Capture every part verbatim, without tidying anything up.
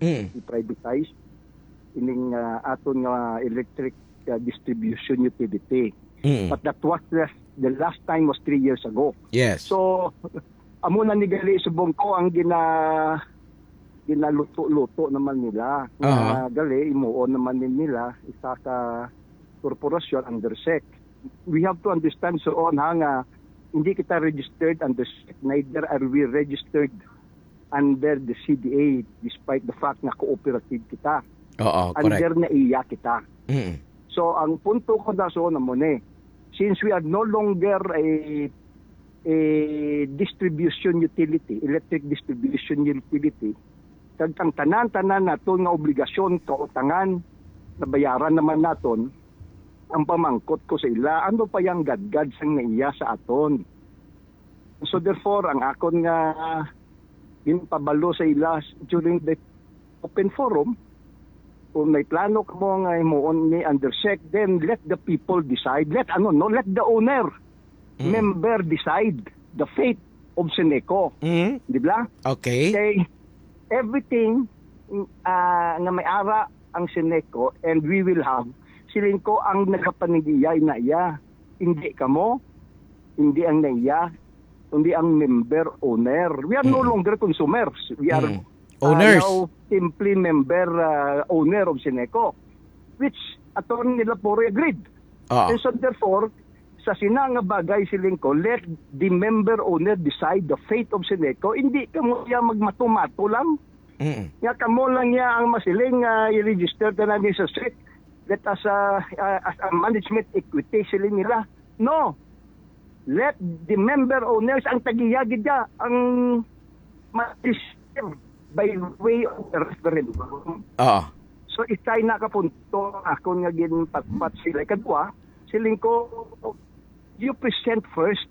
Mm. I-privatize ining, ah, aton nga electric, ah, distribution utility. Mm. But that was the, the last time was three years ago. Yes. So, amo na ni gali subong ko ang gina-, ginaluto-luto naman nila. Nga Aha. gali, imuon naman ni nila, isa ka korporasyon under SEC. We have to understand, so on, ha, nga hindi kita registered under SEC, neither are we registered under the C D A, despite the fact nga cooperative kita. Oo, correct. Under NAIA kita. Mm. So, ang punto ko na so na mo ni, since we are no longer a, a distribution utility, electric distribution utility, kag ang tanan-tanan naton nga obligasyon, kautangan, nabayaran naman naton, ang pamangkot ko sa ila, ano pa yang gadgad sang NAIA sa aton? So therefore, ang akon nga ginpabalo sa ila during the open forum, kung may plano kamo nga himuon ni under SEC, then let the people decide. Let, ano, no, let the owner Mm. member decide the fate of Seneco. Mm. Di ba? Okay. Kay everything, ah, nga may ara ang Seneco and we will have, siling ko ang nagapanag-iya, NAIA. Hindi kamo, hindi ang NAIA, kundi ang member owner. We are no Mm. longer consumers. We are, Mm. ah, Owners. now simply member, ah, owner of Seneco, which Attorney Lapore agreed. Ah. And so therefore, sa sina nga bagay, siling ko, let the member owner decide the fate of Seneco. Hindi kamo iya magmatumato lang. Mm. Nga kamo lang niya ang masiling nga i-register tanan ni sa SEC. Let us, uh, uh, as a management equity, siling nila. No. Let the member owners ang tag-iya gid ya ang ma-decide by way of the referendum. Oo. So, isa na ka punto akon nga ginpatpat sila. Ikadua, siling ko, you present first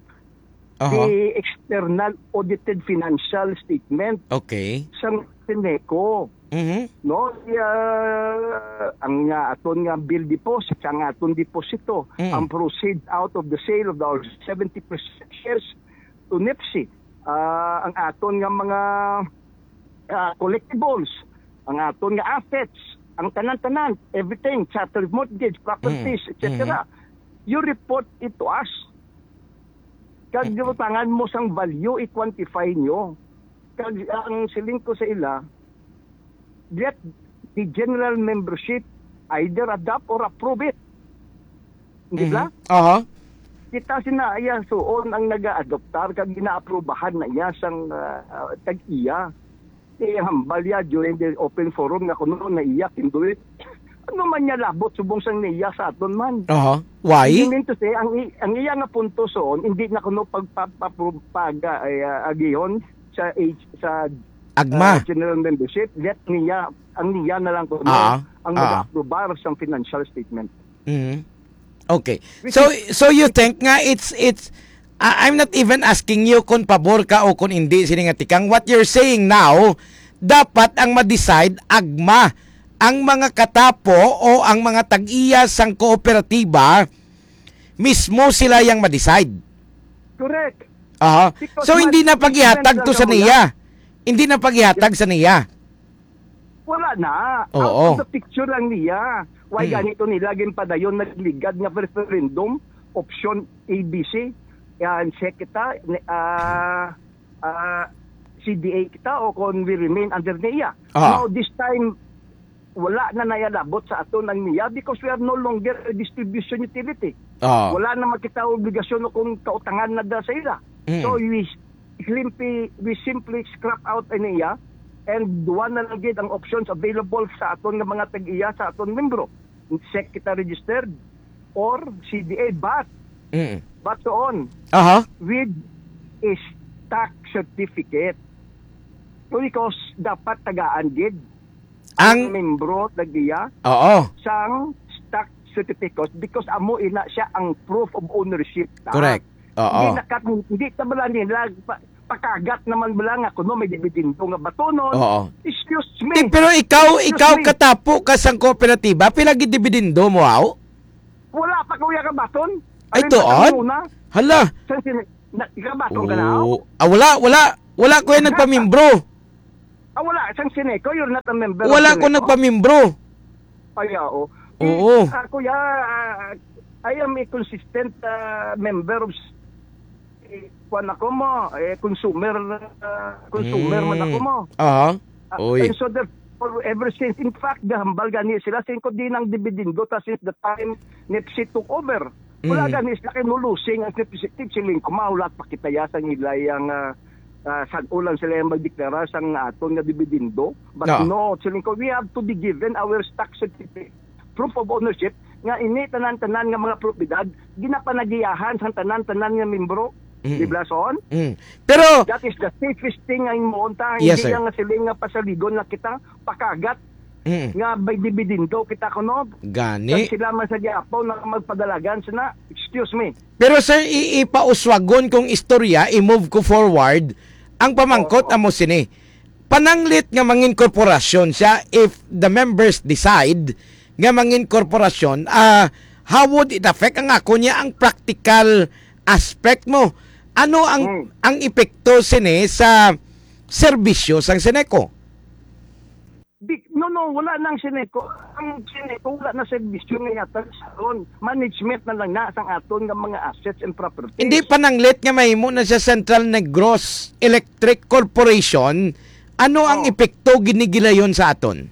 Aha. the external audited financial statement Okay. sang Seneco. Mhm. No, iya, ang nga aton nga bill deposit, ang aton deposito, Mm. ang proceed out of the sale of our seventy percent shares to NEPC, ah, ang aton nga mga, ah, collectibles, ang aton nga assets, ang tanan-tanan, everything, chattel mortgage, properties, Mm. et cetera. Mhm. You report it to us. Kag Mm. gibutangan mo sang value, i-quantify nyo. Kag ang siling ko sa ila, let the general membership either adopt or approve it. Di ba? Mhm. Aha. Kita sina iya suon ang nagaadoptar kag ginaaprubahan na iya sang, ah, ah, tag-iya. Ihambal ya during the open forum nga kuno na iya pinduit. Ano man niya labot subong sang NAIA sa aton man? Aha. Why? You mean to say, ang i-, ang iya nga punto son, hindi na kuno pagpa-, papro-, pag, ah, ay, ah, agihon sa age, sa, Agma. ah, general membership, let NAIA, ang NAIA na lang kuno Ah, ang ah. mag-aprobar sang financial statement. Mhm. Okay. Which So, is so you think nga it's, it's, I-, I'm not even asking you kung pabor ka o kung hindi, sini nga tikang. What you're saying now, dapat ang ma-decide, agma, ang mga katapo o ang mga tag-iya sang kooperatiba, mismo sila yang ma-decide. Correct. Aha. Because So, hindi na management pag-ihatag lang to sa kamo NAIA. Hindi na pag-ihatag sa NAIA. Wala na. Oo. Out of the picture lang niya. Why Hmm. ganito nila ginpadayon nagligad nga referendum, option A B C, yan, SEC kita, ni-, ah, ah, C D A kita, o kung we remain under NAIA. Ah. Now, this time, wala na nayalabot sa aton ang NAIA because we are no longer a distribution utility. Ah. Wala na makita obligasyon o kung kautangan na da sa ila. Mm. So, we simply, we simply scrap out ang NAIA and duwa na lang gid ang options available sa aton nga mga tag-iya, sa aton membro. SEC kita registered or C D A, but, Mm. but so on, Aha. with a stock certificate. Because dapat tagaan gid Ang ang membro tag-iya Oo. sang stock certificate because amo ina siya ang proof of ownership ta. Correct. Oo. Hindi nakat-, hindi ta bala nila pa-, pakagat naman bala nga kuno may dividendo nga batonon. Oo. Excuse me. Eh, pero ikaw, Excuse ikaw me. katapo ka sang kooperatiba, pila gid dividendo mo, aw? Wala pa, kuya, ka baton. Ay, Alin tuod? ba ang una? Hala. Sa sin-, na, ikabaton ka na, aw? Oo. Ah, wala, wala. Wala, kuya, nagpamimbro. Ah, wala. Sang Sineco, you're not a member of Wala ko Sineco? nagpamimbro. Ay, oo. Oo. Eh, ah, kuya, ah, I am a consistent, ah, member of s-, eh, kwan ako mo, eh, consumer, ah, consumer man ako Mm. mo. Aha. Ah, Oy. and so therefore, ever since, in fact, gahambal gani sila, singko di nang dividendo ta since the time Nepsi took over. Wala Mm. gani sila kay no losing ang Nepsi, Nepsi Lingkuma, wala pa kita ya sang ila yang, ah, ah, sag-o lang sila yang magdeklara sang aton nga dividendo. But Ah. no, siling ko, we have to be given our stock certificate, proof of ownership, nga ini tanan-tanan nga mga propiedad, ginapanagiyahan sang tanan-tanan nga membro. Mm. Di ba, son? Mm. Pero That is the safest thing nga imo unta. Yes, Hindi sir. lang nga siling nga pasaligon na kita, pakagat Mm. nga may dividendo kita kuno. Gani. Kag sila man sa giapaw na magpadalagan sina. Excuse me. Pero, sir, i-, ipauswagon kong istorya, i-move ko forward. Ang pamangkot Oo. amo sini. Pananglit nga mangin korporasyon siya, if the members decide nga mangin korporasyon, ah, how would it affect ang ako niya ang practical aspect mo? Ano ang, Hmm. ang epekto sini sa serbisyo sang Sineco? Di, no, no, wala nang Sineco. Ang Sineco, wala na serbisyo nga yatag sa aton. Management na lang na sang aton nga mga assets and properties. Hindi pananglit nga mahimo na siya Central Negros Electric Corporation. Ano ang Oh. epekto ginigilayon sa aton?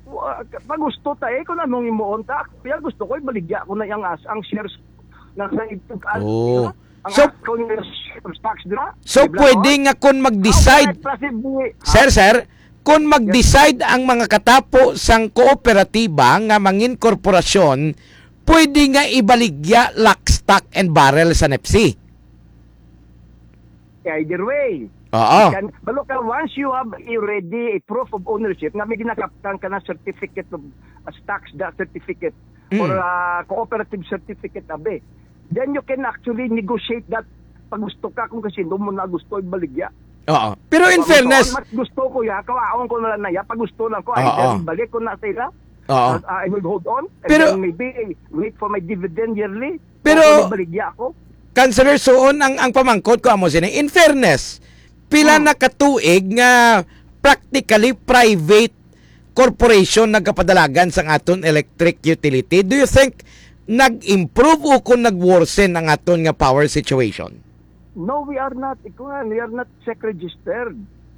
Wa-, pagusto ta eh, kung anong imuon ta. Kaya gusto ko, ibaligya ko na yung as-, ang shares na sa ipag-, Oh. ang So, account nga shares tax dira. so Di ba, pwede no? nga kung mag-decide, How can I possibly, ha? Sir, sir, kung Yes. mag-decide ang mga katapo sang kooperatiba nga mangin korporasyon, pwede nga ibaligya lock, stock, and barrel sa Nepsi. Either way. Oo. You can, balo ka, once you have already a proof of ownership, nga may ginakaptan ka na certificate of, uh, stocks, the certificate, Mm. or, uh, cooperative certificate, abi, then you can actually negotiate that. Pag gusto ka, kung kasi mo na gusto, ibaligya. Oo. Pero in Kung fairness, gusto, mas gusto ko ya, kawaon ko na lang na ya, pag gusto lang ko, Oo. either balik ko na sa ila, Oo. uh, I will hold on, and Pero then maybe wait for my dividend yearly. Pero, Kung may baligya ako. Councilor Suon, ang, ang pamangkot ko amo sini, in fairness, pila Hmm. na ka tuig nga practically private corporation nagapadalagan sang aton electric utility? Do you think nag-improve o kung nag-worsen ang aton nga power situation? No, we are not, ikuan, we are not SEC registered.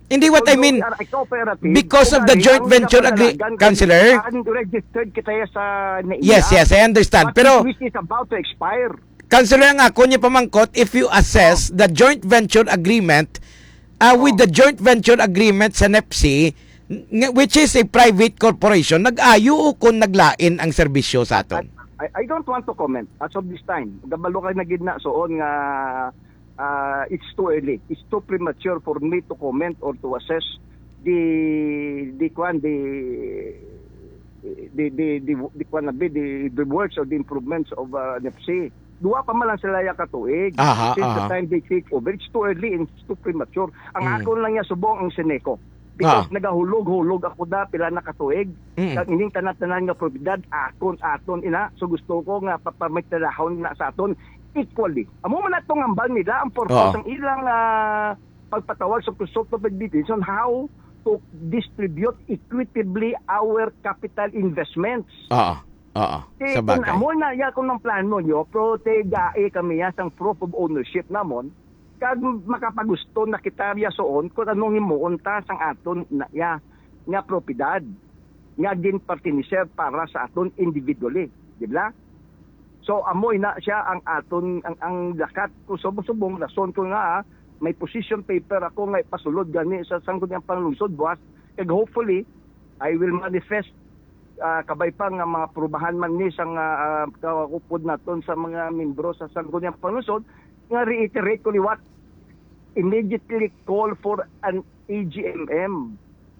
Hindi, what I Although mean, we are a cooperative, because of the kuan, joint ang venture agree-, nagapadalagan kay Councilor? Unregistered kita ya sa NAIA. Yes, yes, I understand. But Pero which is about to expire. Councilor, ang ako niya pamangkot, if you assess Oh. the joint venture agreement, uh, with Oh. the joint venture agreement sa NEPC, ng-, which is a private corporation, nag-ayo o kung naglain ang serbisyo sa aton? I, I, I don't want to comment as of this time. Gabalo kay na gid na suon nga, ah, it's too early. It's too premature for me to comment or to assess the, the, kwan, the, the, the, the, the, kwan na bi, the, the works or the improvements of, uh, NEPC. Duwa pa man lang sila ya ka tuig Aha, since the aha. time they take over. It's too early and it's too premature. Ang Mm. akon lang ya subong ang Seneco. Because Ah. nagahulog-hulog ako na pila na ka tuig. Mm. Kag ining tanan-tanan nga propiedad, akon, aton ina. So gusto ko nga papamitadahon na sa aton equally. Amo man atong hambal nila, ang purpose Oo. ang ilang, ah, pagpatawag sa consultative meetings on how to distribute equitably our capital investments. Oo. Oo. Eh, Sa kung bagay. amo na ya kung ang plano nyo, pero te, gae kami ya sang proof of ownership namon, kag makapagusto na kita ya suon kung anong himuon ta sang aton na ya nga propiedad nga ginpartiniser para sa aton individually, di ba? So, amoy na siya ang aton, ang, ang lakat ko subong-subong, rason ko nga, ah, may position paper ako nga ipasulod gani sa Sangguniang Panlungsod buwas, kag hopefully, I will manifest, ah, kabay pa nga mga prubahan man ni sa nga, ah, kaupod naton sa mga membro sa Sangguniang Panlungsod, nga reiterate ko liwat, immediately call for an A G M M.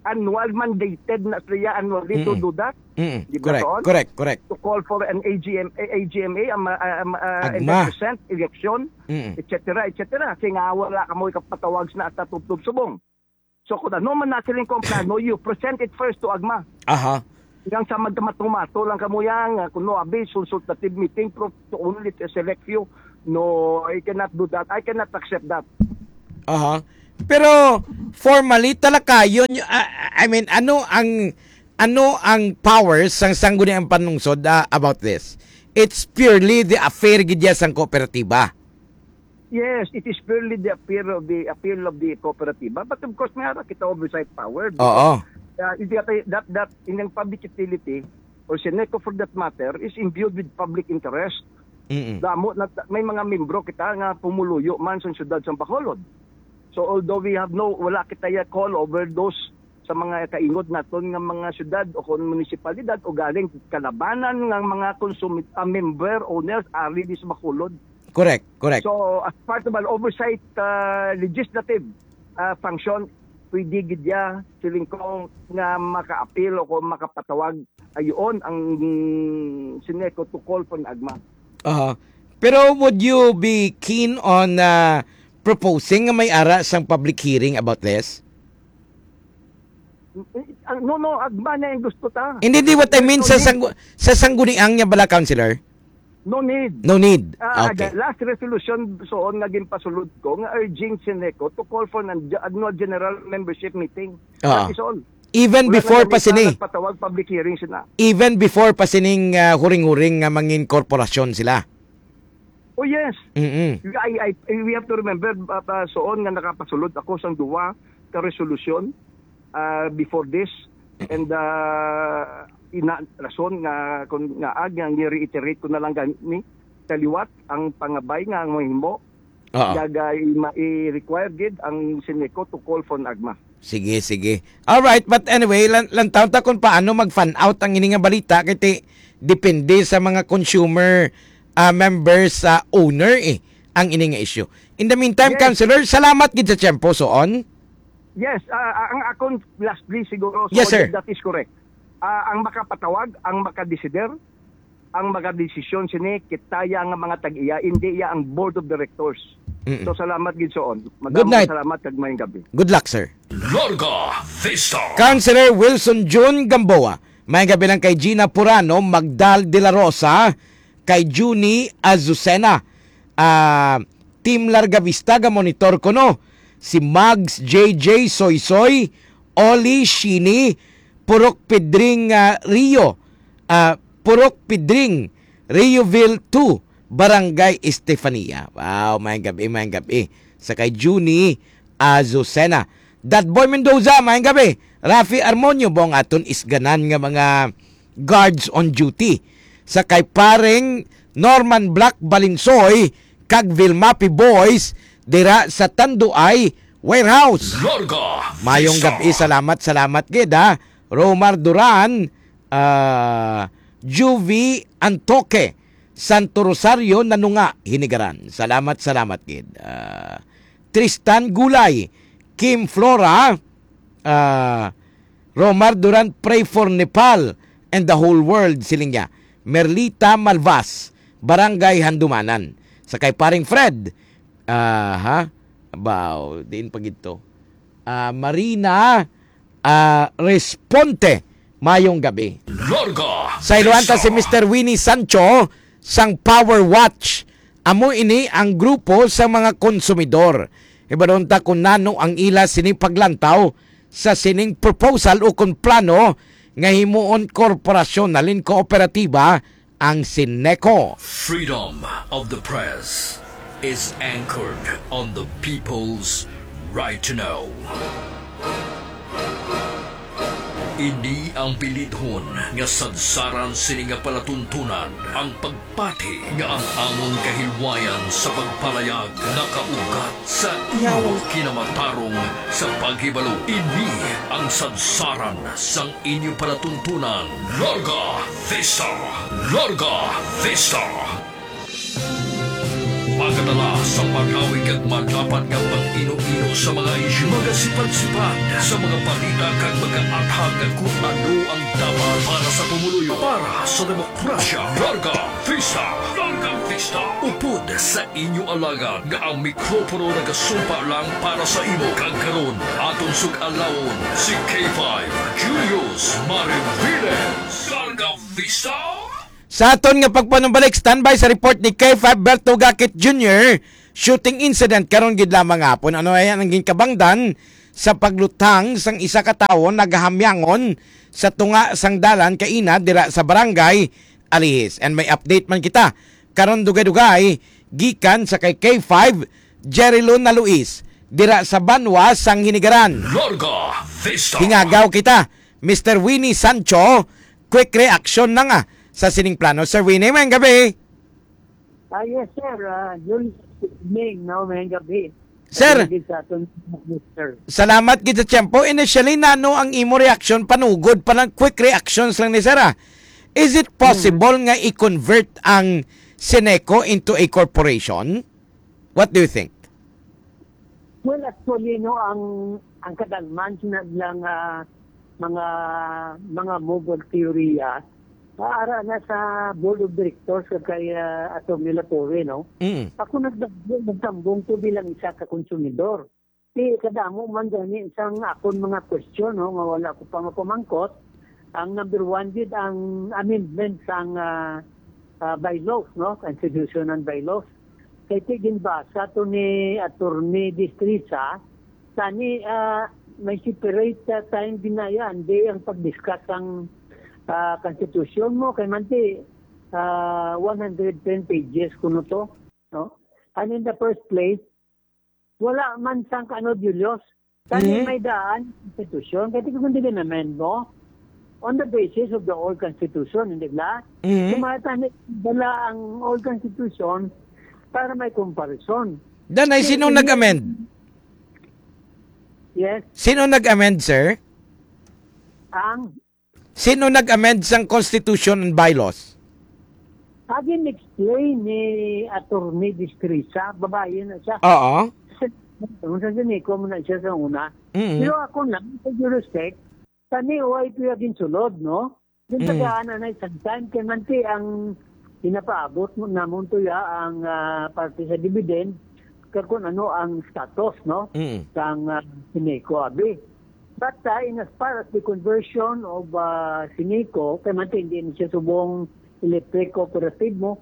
Annual mandated na siya annually to Mm-mm. do that. Mm-mm. Di ba, Correct, Ton? correct, correct. To call for an A G M, A G M A, um, uh, um, uh, and Agma. then present election, Mm-mm. et cetera, et cetera. Kasi nga wala ka mo ikapatawag na at tubtob subong. So kung ano man na siling kung plano, you present it first to Agma. Aha. Yang sa magkamatumato lang kamo yang, uh, kuno abi, consultative meeting, pero to only a select few. No, I cannot do that. I cannot accept that. Aha. Pero formally, talakayon, y- ah, I mean, ano ang ano ang powers sang Sangguniang Panlungsod, ah, about this? It's purely the affair gid ya sang kooperatiba. Yes, it is purely the appeal of the appeal of the kooperatiba. But of course, may ara kita oversight power Oo. because, uh, it, that, that, that in ang public utility or Sineco for that matter is imbued with public interest. Mm-mm. Damo na may mga membro kita nga pumuluyo man sa siyudad sa Bacolod. So although we have no, wala kita ya call over those sa mga kaingod naton nga mga syudad o kon munisipalidad o galing kalabanan nga mga consumi-, ah, member, owners, ari di sa Bacolod. Correct, correct. So, as part of an oversight, ah, legislative, ah, function, pwede gid ya, siling ko, nga maka-appeal o kung makapatawag ayoon ang Sineco to call for an agma. Aha. Pero would you be keen on, ah, proposing nga may ara sang public hearing about this? Eh, ah, no, no, agma na ang gusto ta. Hindi, hindi, what I mean No sa need. sanggu-, sa sangguniang niya bala, Councilor? No need. No need. Ah, Okay. The last resolution soon nga ginpasulod ko nga urging Sineco to call for an annual general membership meeting. Ah. That is all. Even Wala before na pa kami sini. Nagpatawag public hearing sila. Even before pa sining, ah, huring-huring nga mangin korporasyon sila. Oh, yes. Mm-mm. I, I, we have to remember, uh, uh, soon nga nakapasulod ako sang duwa ka resolution, uh, before this. And, uh, ina rason nga kung nga ag nga reiterate ko na lang gani kaliwat ang pangabay nga ang mahimo Oo. Kag, uh, i-, ma-, i-require gid ang Sineco to call for an agma. Sige, sige. All right, but anyway, lan-, lantaw ta kung paano mag-fan out ang ini nga balita kay ti-, depende sa mga consumer, ah, members, sa owner, eh, ang ini nga issue. In the meantime, Yes. Councilor, salamat gid sa tiyempo, soon. Yes, ah, ah, ang akon last plea siguro, so Yes, sir. That is correct. Ah, ang makapatawag, ang makadesider, ang makadesisyon sini, kita ya nga mga tag-iya, hindi ya ang board of directors. Mm-mm. So, salamat gid soon. Madamo Good night. Salamat kag maayong gabi. Good luck, sir. Larga Vista. Councilor Wilson Jun Gamboa. May gabi lang kay Gina Purano, Magdal de la Rosa, kay Junie Azucena. Ah, Team Larga Vista, ga monitor ko, no? Si Mags J J Soysoy, Oli Shini, Purok Pedring, ah, Rio, ah, Purok Pedring, Rioville two, Barangay Estefania. Wow, maayong gabi, maayong gabi. Sa kay Junie Azucena. Datboy Mendoza, maayong gabi. Rafi Armonio, bong aton isganan nga mga guards on duty. Sa kay paring Norman Black Balinsoy kag Vilmapi Boys dira sa Tanduay Warehouse. Larga Mayong Vista. Gabi, salamat, salamat gid, ha. Romar Duran, ah, Juvie Antoque, Santo Rosario, Nanunga, Hinigaran. Salamat, salamat gid. Ah, Tristan Gulay, Kim Flora, ah, Romar Duran, pray for Nepal and the whole world, siling niya. Merlita Malvas, Barangay Handumanan. Sa kay paring Fred, ah, ha? Baw, diin pa gid to? Ah, Marina, ah, Responte, mayong gabi. Larga Sa iluan ta Vista. Si Mister Winnie Sancho, sang Power Watch. Amo ini ang grupo sa mga konsumidor. Hibaron ta kung nano ang ila sini paglantaw sa sining proposal o kung plano nga himuon korporasyon halin kooperatiba ang Sineco. Freedom of the press is anchored on the people's right to know. Ini ang bilidhon nga sadsaran sini nga palatuntunan, ang pagpati nga ang amon kahilwayan sa pagpalayag nakaugat sa inyo kinamatarong sa paghibalo. Ini ang sadsaran sang inyo palatuntunan. Larga Vista! Larga Vista! Magadala sa pagawig kag madapat nga pag-ino-ino sa mga isyu, magasipad-sipad sa mga balita kag magaathag kung ano ang dapat para sa pumuluyo, para sa demokrasya. Larga Vista! Larga Vista! Upod sa inyo alagad nga ang mikropono nagasumpa lang para sa imo. Kag karon, aton sug-alawon si K five Julius Mariviles. Larga Vista! Sa aton nga pagpanumbalik, standby sa report ni K five Berto Gakit Junior shooting incident karon gid lamang hapon. Ano yan ang ginkabangdan sa pagluthang sang isa ka tawo nagahamyangon sa tunga sang dalan kaina dira sa Barangay Alihis. And may update man kita karon dugay-dugay gikan sa kay K five, Jerry Luna Luis, dira sa Banwa sang Hinigaran. Larga Vista. Hingagaw kita, Mister Winnie Sancho, quick reaction na nga sa sining plano. Sir Winnie, mayong gabi. Ah, yes, sir. Ah, Julius, good evening, no? Mayong gabi. Sir, Mayong gabi sa aton, sir. Salamat gid sa tiyempo. Initially, nano ang imo reaction? Panugod pa lang, quick reactions lang ni sir, ah. Is it possible Hmm. nga i-convert ang Sineco into a corporation? What do you think? Well, actually, no, ang, ang kadalman sina lang, ah, mga, mga mobile theory, ah, ara na sa board of directors kag kay, ah, Attorney Lapore, no? Mm. Ako nagdag-, nagtambong ko bilang isa ka konsumidor. Di kadamo man gani sang akon mga question, no, nga wala ko pa mapamangkot. Ang number one gid ang amendment sang, ah, ah, bylaws, no, constitution and bylaws. Kay ti ginbasa to ni Attorney Destreza, tani, ah, may separate, ah, time ginayan di ang pag-discuss sang, ah, constitution mo kay man ti, ah, one hundred ten pages kuno to, no? And in the first place, wala man sang kano, Julius. Kani Mhm. may daan constitution, kaya tingnan kung di na-amend mo on the basis of the old constitution, hindi ba? Mhm. Kung mga tani, dala ang old constitution para may comparison. Danay, Kasi sino hindi nag-amend? Yes. Sino nag-amend, sir? Ang Sino nag-amend sang constitution and bylaws? Agi explain ni Attorney Destreza, babae na siya. Oo. Sa, sa Sineco mo na siya sa una. Mm. Pero ako na, with due respect, kani O I P ang ginsulod, no? Yung Mm. tagaan na isang time, kay manti ang pinapaabot mo namon to ya ang, ah, parte sa dividend, kag kung ano ang status, no? Mm. Sang, ah, Sineco, abi. But, ah, in as far as the conversion of, ah, Sineco, kay man hindi na siya subong electric cooperative mo,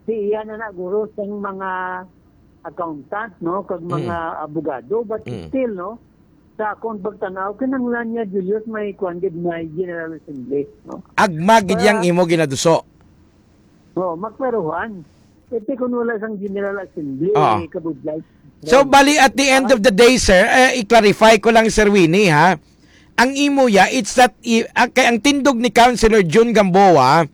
si iya na na guro sang mga accountant, no, kag Mm. mga abogado, but Mm. still, no, sa akong pagtanaw, kinahanglan niya, Julius, may kuwan gid, may General Assembly, no? Agma gid yang Para imo ginaduso. Oo, makweruhan. Ete kung wala sang General Assembly, Oo. eh, kabudlay. So, bali, at the end of the day, sir, eh, i-clarify ko lang, Sir Winnie, ha? Ang imo ya, it's not, i-, ah, kay ang tindog ni Councilor Jun Gamboa,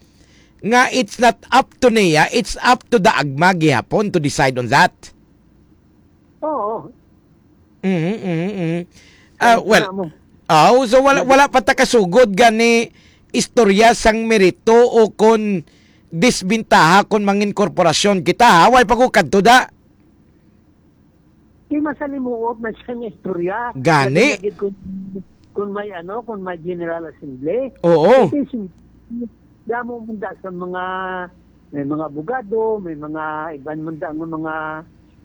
nga it's not up to niya, it's up to the agma gihapon to decide on that. Oo. Mhm, mhm, mhm. Ah, Kaya well, sila mo. aw, so wala, Nag- wala pa ta kasugod gani istorya sang merito o kon disbintaha kon mangin korporasyon kita, ha? Way pa ko kadto da. Di masalimuot na siya nga istorya. Gani. Lagi na gid kung, kung may ano, kung may General Assembly. Oo. Kasi sin-, damo man da sa mga, may mga abogado, may mga iban man da nga mga,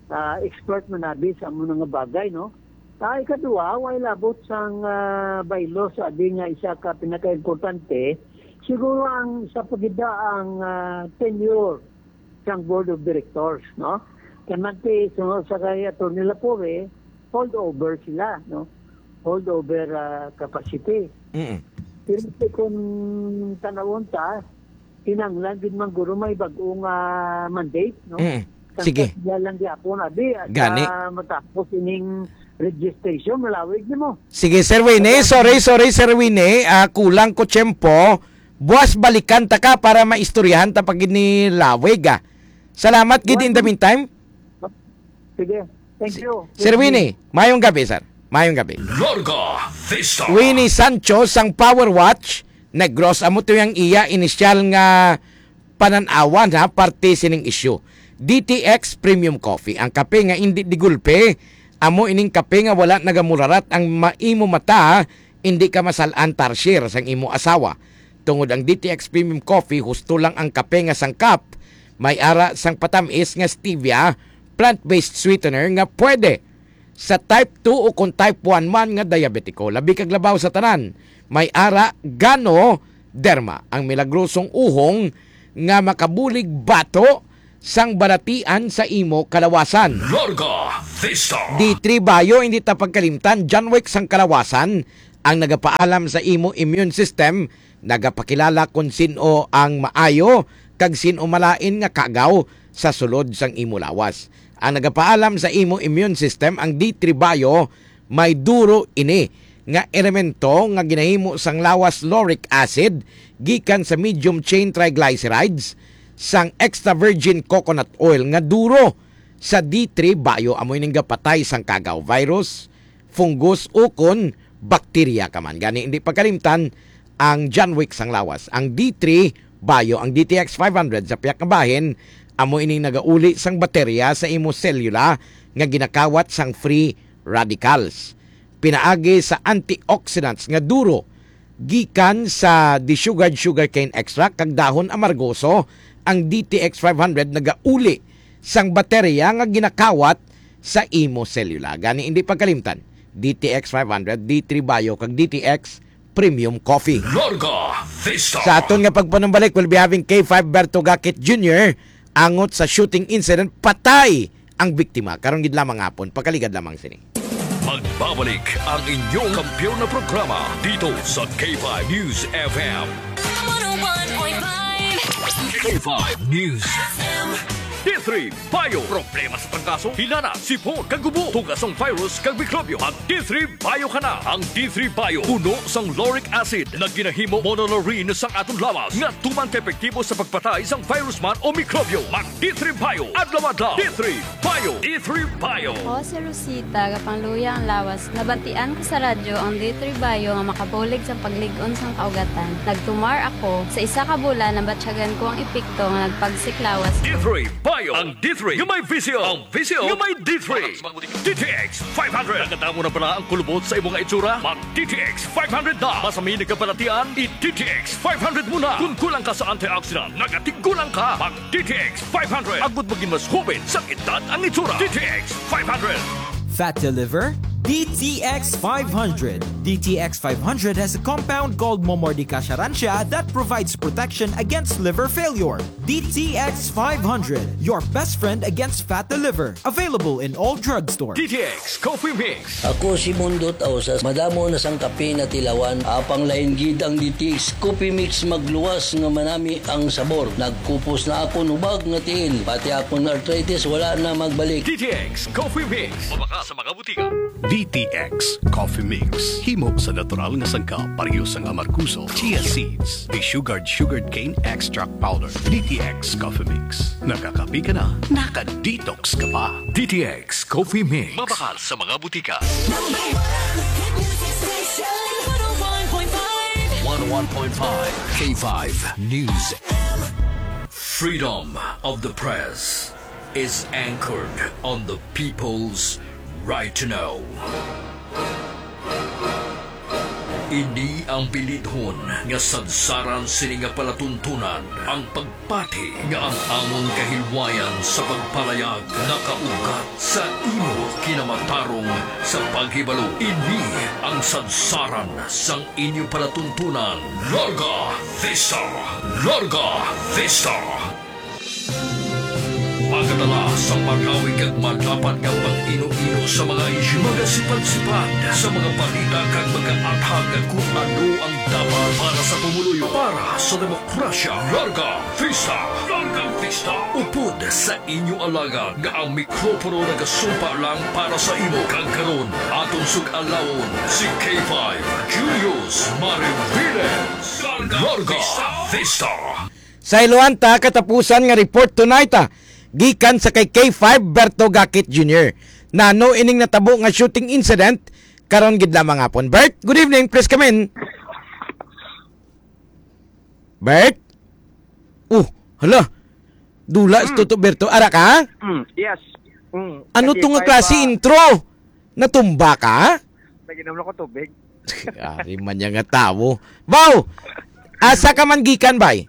ah, expert man abi sa amo nga bagay, no? Ah, ikaduha, way labot sang, ah, bylaw sa abi nga isa ka pinakaimportante, siguro ang sa pagida ang, ah, tenure sang board of directors, no? Kay manti, sunod sa kay Attorney Lapore, holdover sila, no? Holdover, ah, capacity. Mm. Pero kung tanawon ta, kinahanglan gid man guro may bag-ong, ah, mandate, no? Mm. Sige. Sila lang gyapon, abi, at, Gani. ah, matapos ining registration, malawig nimo. Sige, Sir Wayne. Sorry, sorry, Sir Wayne. Ah, kulang ko tiyempo. Buwas balikan ta ka para maistoryahan ta pa gid ni lawig, ah. Salamat gid in the meantime. Sige. Thank Si-, you. Sir Winnie, mayong gabi, sir. Mayong gabi. Larga Vista. Winnie Sancho sang Power Watch, Negros, amo to yang iya inisyal nga panan-awan, ha, parte sining isyu. D T X Premium Coffee, ang kape nga indi digulpe, amo ining kape nga wala nagamurarat ang ma-, imo mata, indi ka masal-an tarsier sang imo asawa. Tungod ang D T X Premium Coffee, husto lang ang kape nga sangkap, may ara sang patamis nga stevia, plant-based sweetener nga pwede sa type two o kon type one man nga diabetiko. Labi kag labaw sa tanan, may ara Ganoderma, ang milagrosong uhong nga makabulig bato sang balatian sa imo kalawasan. Larga Vista. D three Bio, hindi ta pagkalimtan, John Wick sang kalawasan, ang nagapaalam sa imo immune system, nagapakilala kon sin-o ang maayo kag sin-o malain nga kagaw sa sulod sang imo lawas. Ang nagapaalam sa imo immune system, ang D three Bio, may duro ini nga elemento nga ginahimo sang lawas lauric acid gikan sa medium chain triglycerides, sang extra virgin coconut oil nga duro sa D three Bio, amo ining gapatay sang kagaw, virus, fungus, ukon bakterya ka man. Gani, hindi pagkalimtan ang John Wick sang lawas. Ang D three Bio, ang D T X five hundred sa pihak nga bahin, amo ining nagauli sang baterya sa imo selula nga ginakawat sang free radicals. Pinaagi sa antioxidants nga duro gikan sa desugared sugarcane extract kag dahon amargoso, ang D T X five hundred nagauli sang baterya nga ginakawat sa imo selula. Gani, hindi pagkalimtan, D T X five hundred, D three Bio, kag D T X Premium Coffee. Larga Vista. Sa aton nga pagpanumbalik, we'll be having K five Berto Gakit Junior angot sa shooting incident, patay ang biktima. Karon gid lamang hapon, pakaligad lamang sini. Magbabalik ang inyong kampiyon na programa dito sa K five News F M. One oh one point five. K five News. D three Bio. Problema sa trangkaso, hilana, sipon, kag ubo. Tuga sang virus kag mikrobyo. Mag D three Bio ka na. Ang D three Bio, puno sang lauric acid, nga ginahimo monolaurin sang aton lawas, nga tuman ka epektibo sa pagpatay sang virus man o mikrobyo. Mag D three Bio adlaw-adlaw. D three Bio. D three Bio. Ako si Rosita, gapangluya ang lawas. Nabatian ko sa radyo ang D three Bio nga makabulig sa paglig-on sang kaugatan. Nagtumar ako. Sa isa ka bulan, nabatyagan ko ang epekto nga nagpagsik lawas. D three Bio. Ang D three nga may vision. Ang vision nga may D three. D T X five hundred. Nakadamo na bala ang kulubot sa imo nga itsura? Mag D T X five hundred na. Masami nagkabalatian, i-D T X five hundred mo na. Kung kulang ka sa antioxidant, nagatigulang ka. Mag D T X five hundred. Agud maging mas hoben sang edad ang itsura. D T X five hundred. Fat to liver? D T X five hundred. D T X five hundred has a compound called Momordica charantia that provides protection against liver failure. D T X five hundred, your best friend against fat to liver. Available in all drugstores. D T X Coffee Mix. Ako si Mundo Tausas. Madamo na sang kape natilawan. Apang lain gid ang D T X Coffee Mix, magluwas nga manami ang sabor. Nagkupos na akon hubag nga tiil. Pati akon arthritis wala na magbalik. D T X Coffee Mix. Mabakal sa mga butika. D T X Coffee Mix. Himo sa natural nga sangkap, pareho sang amargoso, chia seeds, desugared sugarcane extract powder. D T X Coffee Mix. Nakakape ka na, naka-detox ka pa. D T X Coffee Mix. Mabakal sa mga butika. Number one hit music station, one oh one point five. One oh one point five K five News. Freedom of the press is anchored on the people's right to know. Ini ang bilidhon nga sadsaran sini nga palatuntunan, ang pagpati nga ang amon kahilwayan sa pagpalayag nakaugat sa imo kinamatarong sa paghibalo. Ini ang sadsaran sang inyo palatuntunan. Larga Vista! Larga Vista! Magadala sa marawi kag malapad nga pag-ino-ino sa mga isyu, magasipad-sipad sa mga balita kag magaathag kon ano ang dapat para sa pumuluyo, para sa demokrasya. Larga Vista! Larga Vista! Upod sa inyo alagad nga ang mikropono nagasumpa lang para sa imo. Kag karon, aton sug-alawon si K five Julius Mariviles. Larga Vista! Sa iluhan ta, katapusan nga report tonight, ah, gikan sa kay K five Berto Gakit Junior. Nano ining natabo nga shooting incident karon gid lamang hapon? Bert, good evening. Please come in. Bert? Oh, hala. Dula si Mm. Toto Berto. Ara ka? Mm, yes. Mm. Ano Kasi to nga five, klase ah, intro? Natumba ka? Naginom lang ko tubig. Ari man niya nga tawo. Baw! Asa ka man gikan, bay?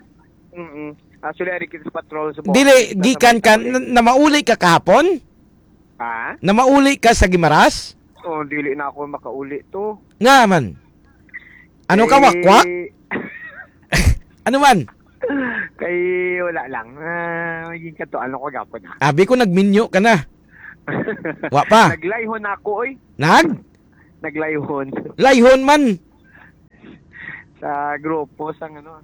Mm-mm. Actually, ari kita sa patrol sa Dili, Bohol. Sa gikan ka, Sabay-sabay. na, namauli ka kahapon? Ha? Namauli ka sa Gimaras? Oh, dili na ako makauli to. Nga man. Ano ka, Eh, wakwak? Ano man? Kay wala lang. Ah, maging kato, ano ko gapon, ha? Abi ko nagminyo ka na. Wa pa. Naglayhon ako, oy. Nag? Naglayhon. Layhon man. Sa grupo, sa ano.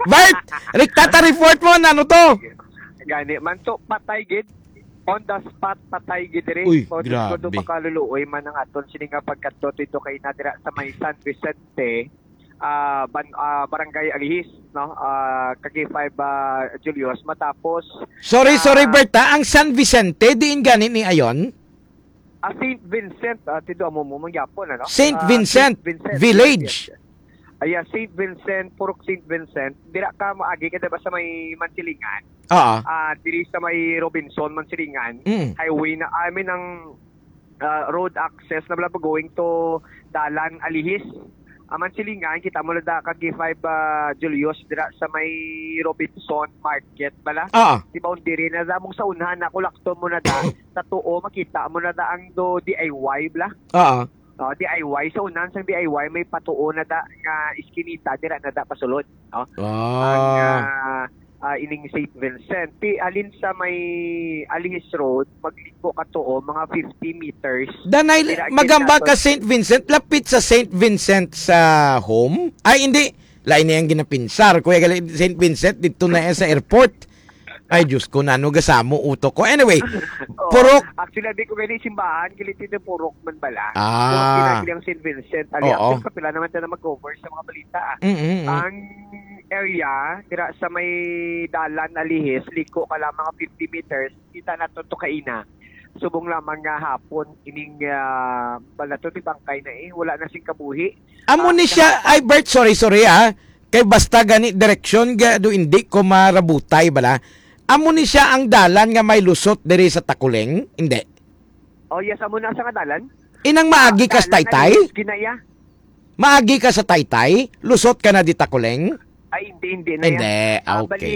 Bert! Riktata report mo, ano to? Gani man to, patay gid. On the spot, patay gid diri. Uy, O, Diyos ko, grabe. Dumakaluluoy man ang aton sini nga pagkadto dito kay na dira sa may San Vicente, ah, ban-, ah, Barangay Alihis, no? Ah, Kaki five, ah, Julius, matapos Sorry, ah, sorry, Bert, ha? Ang San Vicente, diin gani ni ayon? Ah, Saint Vincent, ah, tido amo mo, mangyapon, ano? Saint Ah, Vincent Saint Vincent, Village. Yes, yes. Ay, ah, Saint Vincent, Purok Saint Vincent. Dira ka maagi ka, diba, sa may Mansilingan? Oo. Ah, diri sa may Robinson, Mansilingan. Mm. Highway na, I mean, ang, ah, road access na bala going to Dalan, Alihis. Ah, Mansilingan, kita mo na da kag five, ah, Julius, dira sa may Robinson Market bala. Oo. Di ba, diri na da mong sa unahan na, kulakton mo na da, sa tuo, makita mo na da ang do D I Y bala. Oo. Oh, D I Y, sa unahan sang D I Y, may patuo na da nga iskinita, dira na da pasulod, no? Ah. Ang, ah, ah, ining Saint Vincent. Ti, halin sa may Alihis Road, magliko ka tuo, mga fifty meters. Danay, Dira, magamba gid ka naton. Saint Vincent, lapit sa Saint Vincent sa home? Ay, hindi. Lain na yung ginapinsar. Kuya, gali, Saint Vincent, dito na yan sa airport. Ay, Diyos ko, nano gasamo utok ko. Anyway, Oo. Purok. Actually, abi ko gani simbahan, kiliti na Purok man bala. Ah. Purok ginagili ang Saint Vincent. Ali, Oo. Actually, kapila naman tayo na mag-cover sa mga balita, ah. Mm, mm, mm. Ang area, dira sa may Dalan, Alihis, liko ka lang mga fifty meters, kita na to, to kaina. Subong lamang nga hapon, ining, ah, bala to, di bangkay na eh. Wala na sing kabuhi. Amo Ah, ni siya, kahapon. Ay, Bert, sorry, sorry, ah. Kay basta gani direksyon, ga, do hindi ko marabutay, bala. Amo ni siya ang dalan nga may lusot diri sa Takuleng? Hindi. Oh, yes, amo na sa nga dalan. Inang maagi Ah, ka sa dalan na Taytay? Ginaya. Maagi ka sa Taytay? Lusot ka na di Takuleng? Ay, hindi, hindi na yan. Hindi, Ah, okay. Bali,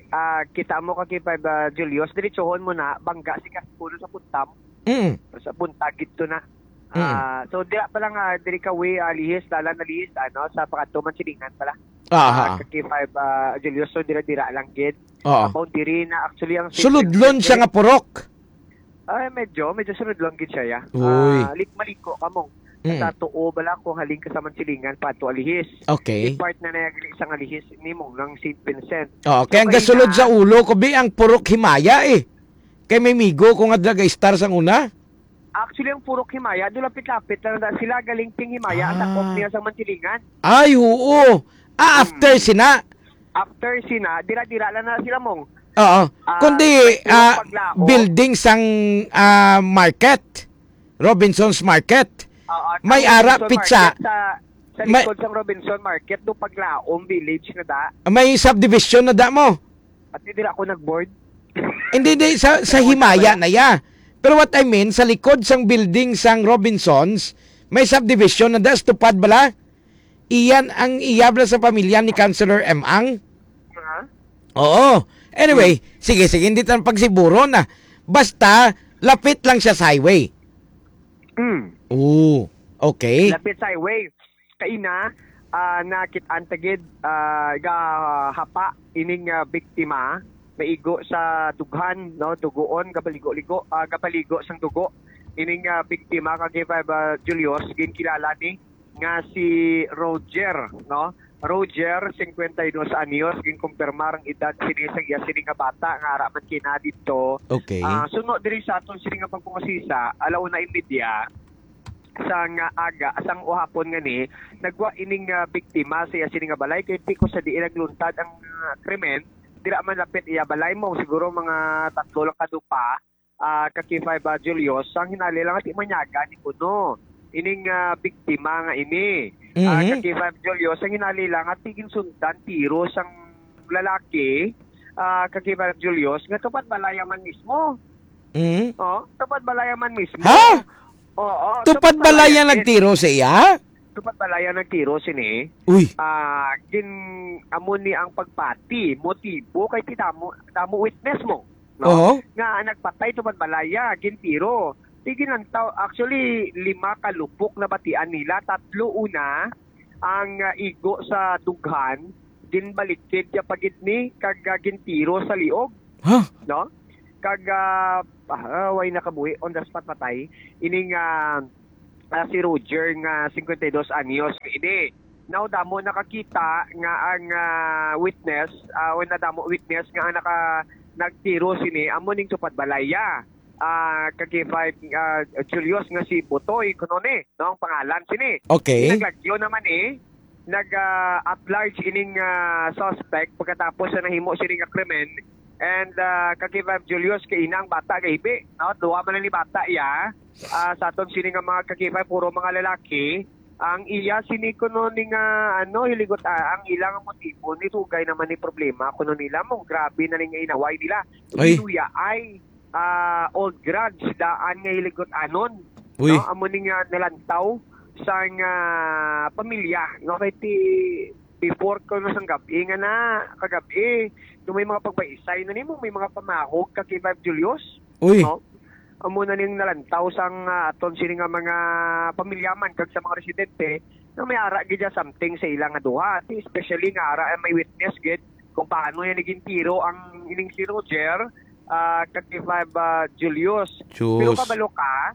ah, kita mo ka kay Five, ah, Julius, diretsohon mo na, bangga si Kaspulo sa Puntam. Mm. Sa Punta, gito na. Mm. Ah, so, dira pa lang, ah, diri ka way, ah, Lihis, dalan na Lihis, ano, sa Pakatuman Silingan pala. Ah, Ah, ah. Kaki five, ah, Julius, so, dira-dira lang gid. Oo. Ang boundary na, actually, ang Suludlon siya nga purok. Ay, medyo, medyo suludlon gid siya, ya. Uy. Ah, lik-, maliko ka mo. Mm. Sa tuo bala kung halin ka sa Mansilingan, pato Alihis. Okay. Yung part na nayagli sa Alihis, nimo ng Saint Vincent. Oo, So, kaya ang kaya gasulod na sa ulo ko, bi, ang purok himaya, eh. Kay may migo ko nga drag star sang una. Actually, ang purok himaya, do lapit-lapit lang na sila, galing ting himaya, ang Ah. takop niya sa Mansilingan. Ay, oo. Ah, after Hmm. sina? After sina, dira-dira lang na sila, mong. Oo. Ah, Kundi, yung ah, paglaom. Building sang, ah, market. Robinson's Market. Oo, May ang ara, Robinson pizza. Market sa, sa May likod sang Robinson Market, do paglaom village na da. May subdivision na da mo. At dira ako nag-board. Hindi, hindi. Sa, sa Sa himaya na ya. Pero what I mean, sa likod sang building sang Robinsons, may subdivision na das tupad bala. Iyan ang iyabla sa pamilya ni Councilor M. Ang. Ha? Oo. Anyway, Hmm. sige, sige, hindi tayo pagsiburo na. Basta, lapit lang siya sa highway. Hmm. Oo. Okay. Lapit sa highway. Kaina, ah, nakit-an ta gid, ah, gahapa ining, ah, biktima, naigo sa dughan, no, dugoon, gapaligo-ligo, ah, gapaligo sang dugo. Ining, ah, biktima, kag five, ah, Julius, ginkilala ni nga si Roger, no? Roger, cincuenta y dos anyos, ginkumpirmar ang edad sini sa iya sini nga bata nga ara man kina dito. Okay. Ah, suno diri sa aton sini nga pagpangasisa, ala una y media, sang aga, sang uhapon nga ni, nagwa ining, ah, biktima sa iya sini nga balay, kay tiko sa diin nagluntad ang, ah, krimen, dira man lapit iya balay mo, siguro mga tatlo lang kadupa, ah, ka K five, ah, Julius, ang hinali lang ati manyaga ni kuno. Ining, ah, biktima nga ini. Ah, Mhm. ka K five Julius, ang hinali lang ati ginsundan tiro sang lalaki, ah, ka K five Julius, nga tupad balaya man mismo. Mhm. Oh, tupad balaya man mismo. Ha? Oo, Tupad tupad balaya balaya, yes. nagtiro sa iya? Tupad balaya nagtiro sini. Uy. Ah, gin-, amo ni ang pagpati, motibo kay ti damo, damo witness mo, no? Oo. Nga nagpatay tupad balaya, gintiro. Ti ginantaw, actually, lima ka lupok na batian nila, tatlo una ang, ah, igo sa dughan, ginbalikid ya pa gid ni kag, ah, gintiro sa liog. Ha? No? Kag, ah, ah, way nakabuhi, on the spot patay. Ining, ah, ah, si Roger nga cincuenta y dos anyos ini. Now, damo nakakita nga ang, ah, witness, ah, o nadamo witness nga ang naka-, nagtiro sini, amo ning tupad balay ya. Ah, ka K five, ah, Julius nga si Butoy, kuno ni, no, ang pangalan sini. Okay. Naglagyo naman eh, nag, ah, at large ining, ah, suspect pagkatapos sa nahimo sini nga krimen. And, ah, ka K five Julius, kay ina ang bata, kay hibi, no? Duha man ni bata ya. Ah, sa aton sini nga mga ka K five, puro mga lalaki. Ang iya sini kuno ni nga, ano, hiligot, ah, ang ilang motibo ni dugay naman ni problema kuno nila mo, grabe na ni nga inaway nila. Ay. Iluya ay, ah, old grudge daan nga hiligot anon. Uy. No, amo ni nga nalantaw sang, ah, pamilya, no, kay ti before kuno sang gab-i nga na, kagab-i, no, may mga pagbaisay na nimo, may mga pamahog ka kay Vibe Julius. Uy. No? Amo na ning nalantaw sang, ah, aton sini nga mga pamilyaman kag sa mga residente nga may ara gid ya something sa ila nga duha. Ti, especially nga ara may witness gid kung paano niya naging tiro ang ining si Roger, ah, kag ni Vibe, ah, Julius. Pero Sus. Kabalo ka,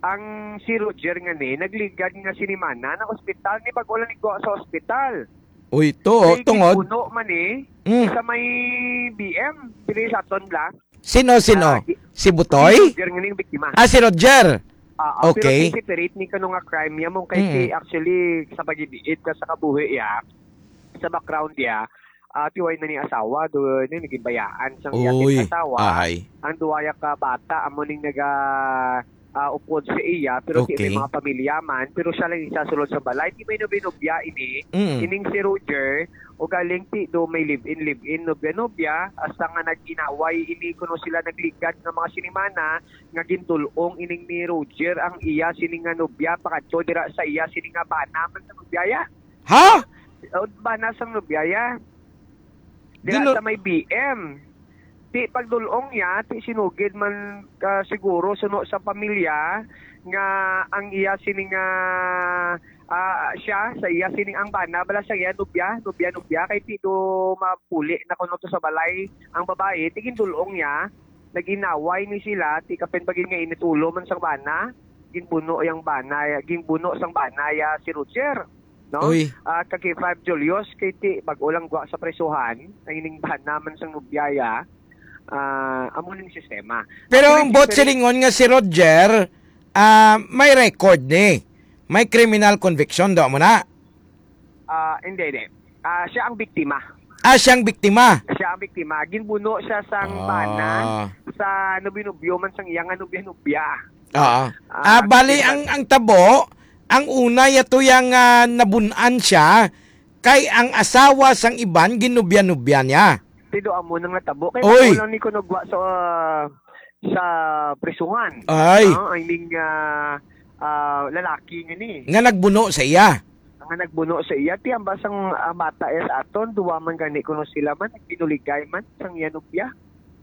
ang si Roger nga ni nagligad nga sinimana na ospital ni bag-o lang igwa sa ospital. Uy, to, oh, Kay tungod. Gipuno man eh, Mm. Sa may B M, dili sa aton bla. Sino, sino? Ah, gi-, Si Butoy? Si Roger nga ning biktima. Ah, si Roger. Ah, ah, pero Okay. Kay separate ni kano nga crime niya mo kay Mm. si actually sa pag-ibiit ka sa kabuhi ya, sa background niya, ah, tiway na ni asawa, do, ni naging bayaan sang iya Uy, asawa. Ahay. Ang duwa ya ka bata, amo ning naga, ah, upod sa iya, pero di may Okay. mga pamilya man, pero siya lang isa sulod sa balay. Di may nobya-nobya ini, Mm. ining si Roger, o galing ti do may live-in, live-in, nobya-nobya, hasta nga nag-inaway ini kuno sila nagligad nga mga sinimana, nga gindul-ong ining ni Roger ang iya sini nga nobya, pakadto dira sa iya sini nga bana man sa nobya ya. Ha? O, bana sang nobya ya. Dira Gino- sa may B M. Ti pagdul-ong niya, ti sinugid man ka siguro suno sa pamilya nga ang iya sini nga, ah, siya, sa iya sini ang bana, bala sa iya, nobya, nobya, nobya, kay ti do mapuli na kuno to sa balay ang babae, ti gindul-ong niya, nag-inaway ni sila, ti kapin bagin nga init ulo man sang bana, ginbuno yang bana, ginbuno sang bana ya si Roger. No? Uy. Ah, kag kay Five Julius, kay ti, bag-o lang gwa sa presuhan, ang ining bana man sang nobya ya, ah, amo ning sistema. Pero Ako ang rin buot si silingon nga si Roger, ah, may record ni. May criminal conviction, do mo na? Ah, hindi, hindi. Ah, siya ang biktima. Ah, siyang biktima. Siya ang biktima. Ginbuno siya sang Ah. bana sa nobyo-nobyo man sang iya nga nobya-nobya. Oo. Ah, Ah, bali, kaya ang, ang tabo, ang una yato yang, ah, nabun-an siya, kay ang asawa sang iban ginubya-nubya niya. Tido amo nang natabo. Kay Oy! Wala ni kuno gwa sa, ah, sa prisuhan. Ay. Ah, I mean, ah, ah, lalaki nga ni. Nga nagbuno sa iya. Nga nagbuno sa iya. Ti ang basang, ah, bata iya sa aton, duwa man gani kuno sila man, nagpinuligay man, sang iya nobya.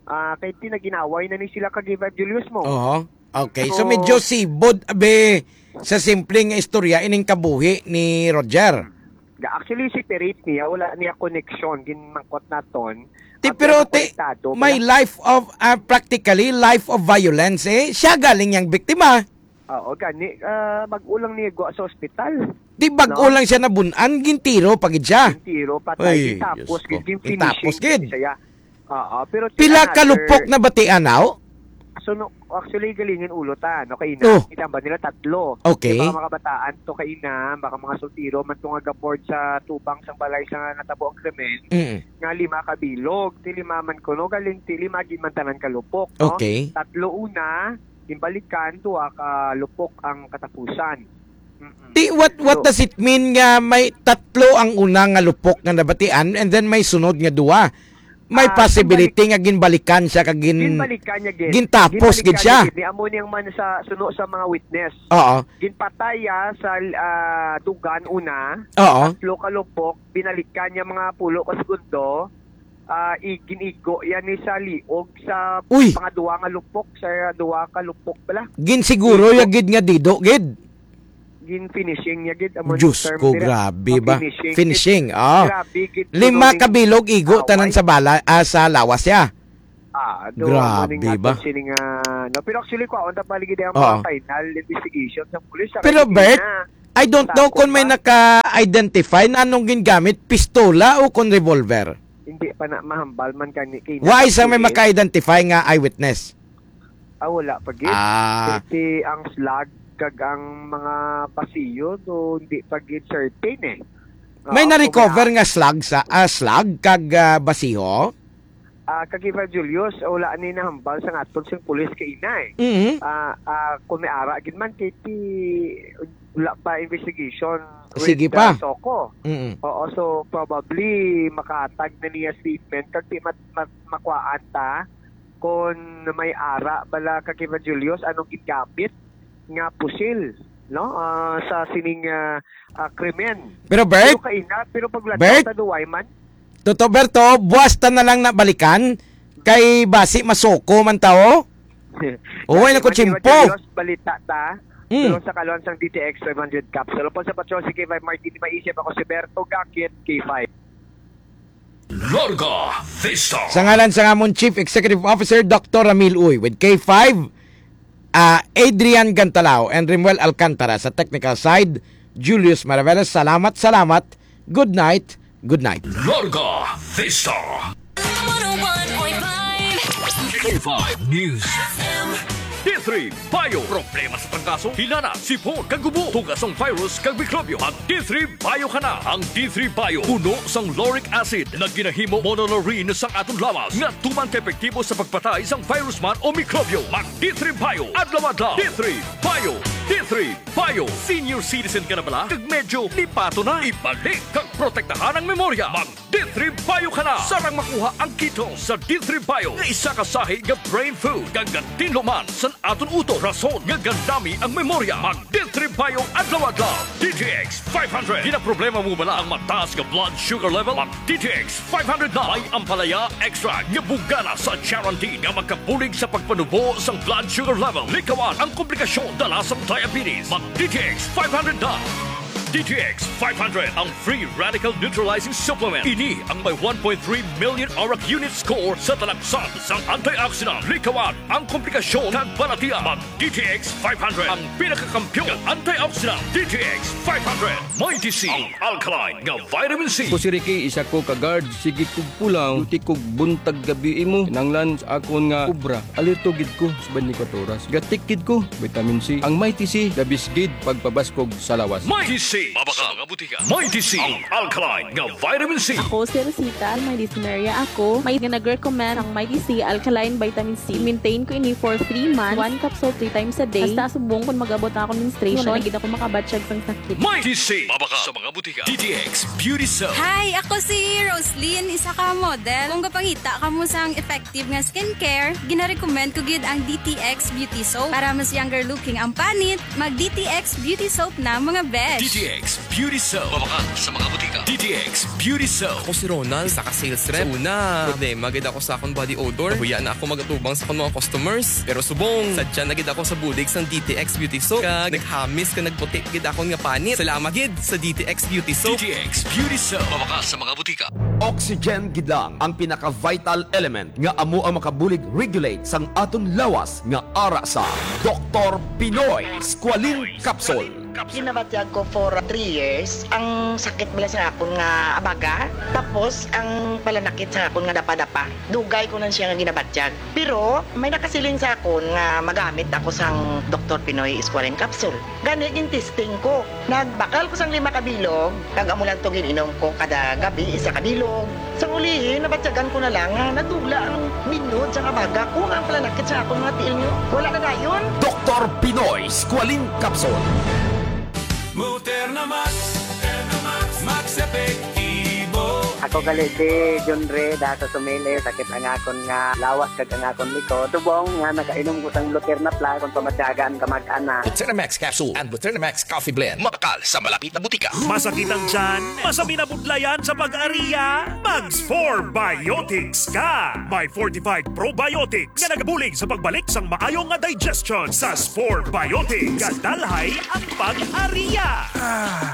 Ah, kay ti naginaway na ni sila kag Evangelio mo. Oo. Okay, so So, medyo sibod, abe, sa simpleng nga istorya, ining kabuhi ni Roger. Ga-, actually, si Perit niya, wala niya connection, ginmangkot naton. Ti, Ang pero ti, pinakakonektado, may wala. life of, ah, practically, life of violence, eh. Siya galing yang biktima. Oo, gani, ah, bag-o lang niya gwa sa ospital. Di bag-o No? lang siya nabun-an, gintiro pa gid siya. Gintiro, patay, Ay, gintapos, Diyos ko. gid, gin-finishing Gintapos gid. siya. Oo, pero Pila another ka lupok na batian, aw? So, no, actually, galingin ulo ta, no, kay ina, Oh. kita ba nila tatlo? Okay. Di ba, mga kabataan to, kay ina, baka mga soltero man to nga gapord sa tubang sang balay sa natabo ang krimen, Mm. nga lima ka bilog, ti lima man kuno, galing ti lima gid man tanan ka lupok, no? Okay. Tatlo una, gimbalikan, duha ka lupok ang katapusan. Mm-mm. Ti, what, what So, does it mean nga may tatlo ang una nga lupok nga nabatian and then may sunod nga duha? May Ah, possibility ginbalik-, nga ginbalikan siya kag gin-, ginbalikan niya gid. gintapos Ginbalikan gid siya. niya gid. Ni amo niyang man sa suno sa mga witness. Oo. Ginpatay ya sa, ah, dugan una. Oo. Tatlo ka lupok, binalikan niya mga pulo ka segundo. Ah, i-, gin-igo yan ni sa liog sa Uy! pangaduwa nga lupok, sa duwa ka lupok pala. Ginsiguro Igo. ya gid nga dido gid. gin-finishing niya gid, amo ang Diyos term ko, nila. Grabe ba? Pa-finishing. Finishing, ah. Grabe gid, Lima kuno ning ka bilog igo tanan away. Sa bala, ah, sa lawas niya. Ah, do, Grabe amo ning ba? Aton sining, ah, no? Pero actually, kwaon ta pa lagi ang Oo. Mga final investigation sa pulis. Sa Pero, kay Bert, na, I don't know sakop kung may pa. Naka-identify na anong gingamit, pistola o kung revolver. Hindi pa na mahambal man kani kay Why sa may naka-pulis? Maka-identify nga eyewitness? Ah, wala pa gid. Ah. Ti ang slug kag ang mga basiyo, do, hindi pa gid certain eh. May Oo, na-recover kung nga slug sa, ah, slug kag, ah, basiyo? Ah, kag Ivan Julius, wala ni nahambal sa aton sing pulis kaina eh. Mhm. Ah, ah, kung may ara gid man, kay ti, wala pa investigation Sige with, pa. Ah, SOCO. Mm-mm. Oo, so probably makahatag na niya statement kag di mat-, mat-, makuhaan ta kung may ara bala kag Ivan Julius anong gingamit nga pusil, no? Ah, sa sining, ah, ah, krimen. Pero Bert, Pero kaina, pero paglantaw Bert, ta duway man. Toto Berto, buwas ta na lang na balikan kay basi masoko man ta, oh. Uway na ko Martin tiyempo. Rodriguez, balita ta. Mm. Tulong sa kaluan sang D T X five hundred capsule. Upod sa Patrol C K five Martin, maisip ako si Berto Gakit, K five. Larga Vista. Sa ngalan sang amon Chief Executive Officer, Doctor Ramil Uy, with K five, ah, Adrian Gantalao and Rimuel Alcantara sa technical side, Julius Maraveles, salamat, salamat. Good night, good night. Larga Vista. One oh one point five. K five News. F M. D three Bio. Problema sa trangkaso, hilanat, sipon, kag ubo, tugas ang virus kag mikrobyo. Mag D three Bio ka na. Ang D three Bio puno sang lauric acid na ginahimo monolaurin sang aton lawas nga tuman ka epektibo sa pagpatay sang virus man o mikrobyo. Mag D three Bio adlaw-adlaw. D three Bio. D three Bio. Senior citizen ka na bala? Kag medyo lipato na? Ibalik kag protektahan ang memorya. Mag D three Bio ka na. Sarang makuha ang Keto sa D three Bio nga isa ka sahi nga brain food kag gatinlo man sa aton utok, rason nga gandami ang memorya. Mag D three Bio adlaw-adlaw. D T X five hundred. Ginaproblema mo bala ang mataas nga blood sugar level? Mag D T X five hundred na. May ampalaya extract nga bugana sa charantin nga makabulig sa pagpanubo sang blood sugar level. Likawan ang komplikasyon dala sang diabetes. Mag D T X five hundred na. D T X five hundred, ang free radical neutralizing supplement. Ini ang may one point three million ORAC unit score sa talaksan sang antioxidant. Likawan ang komplikasyon kag balatian. Mag D T X five hundred, ang pinakakampiyon nga antioxidant. D T X five hundred, Mighty C, ang alkaline nga vitamin C. Ako si Ricky, isa ko ka guard. Sige kog pulaw, duty kog buntag gabi imo. Kinahanglan sa akon nga obra, alerto gid ko sa twenty-four oras. Gatik gid ko, vitamin C. Ang Mighty C, the best gid pagpabaskog sa lawas. Mighty C, mabakal sa mga butika. Mighty C, ang alkaline nga vitamin C. Ako si Rosita, may dysmenorrhea ako. May nga nag-recommend ang Mighty C alkaline vitamin C. Maintain ko ini for three months. One capsule three times a day. Hasta subong kung mag-abot na akong menstruation, wala na gid ako makabatyag sang sakit. Mighty C, mabakal sa mga butika. D T X Beauty Soap. Hi, ako si Roslyn, isa ka model. Kung gapangita kamo sang effective nga skincare, ginarecommend ko gid ang D T X Beauty Soap. Para mas younger looking ang panit, mag D T X Beauty Soap na, mga besh. D T X Beauty Soap. Mabakal sa mga butika. D T X Beauty Soap. Ako si Ronald, isa ka sales rep. Sa una, problema gid ako sa akong body odor. Nahuya na ako magatubang sa akong mga customers. Pero subong, sadya na gid ako sa bulig sang D T X Beauty Soap. Kag naghamis kag nagputi gid akon nga panit. Salamat gid sa D T X Beauty Soap. D T X Beauty Soap. Mabakal sa mga butika. Oxygen gid lang ang pinaka-vital element nga amo ang makabulig regulate sang aton lawas nga ara sa Doktor Pinoy Squalene Capsule. Ginabatyag ko for three years ang sakit bala sa akon nga abaga, tapos ang palanakit sa akon nga dapa-dapa. Dugay ko na siya nga ginabatyag. Pero may nakasiling sa akon nga magamit ako sang Doktor Pinoy Squalene Capsule. Gani, gin-testing ko. Nagbakal ko sang lima ka bilog, kag amo lang to gin-inom ko kada gabi, isa ka bilog. Sa ulihi, nabatyagan ko na lang nga nadula ang minod sang abaga ko, nga ang palanakit sa akon mga tiil niyo, wala na dayon. Doktor Pinoy Squalene Capsule. Moderna Max, Moderna Max, Max Epektibo. Ako Kali si Junre, da sa Sumili, sakit ang akon nga lawas kag ang akon likod. Tubong nga nakainom ko sang Luterna Plus, kung pamatyagan ka mag-ana. Luterna Max capsule and Luterna Max coffee blend. Mabakal sa malapit na butika. Masakit ang tiyan? Masabi na budlayan sa pag-ariya? Mag four Biotics ka! May fortified probiotics nga nagabulig sa pagbalik sang maayo nga digestion. Sa Spore Biotics, kadalhay ang pag-ariya.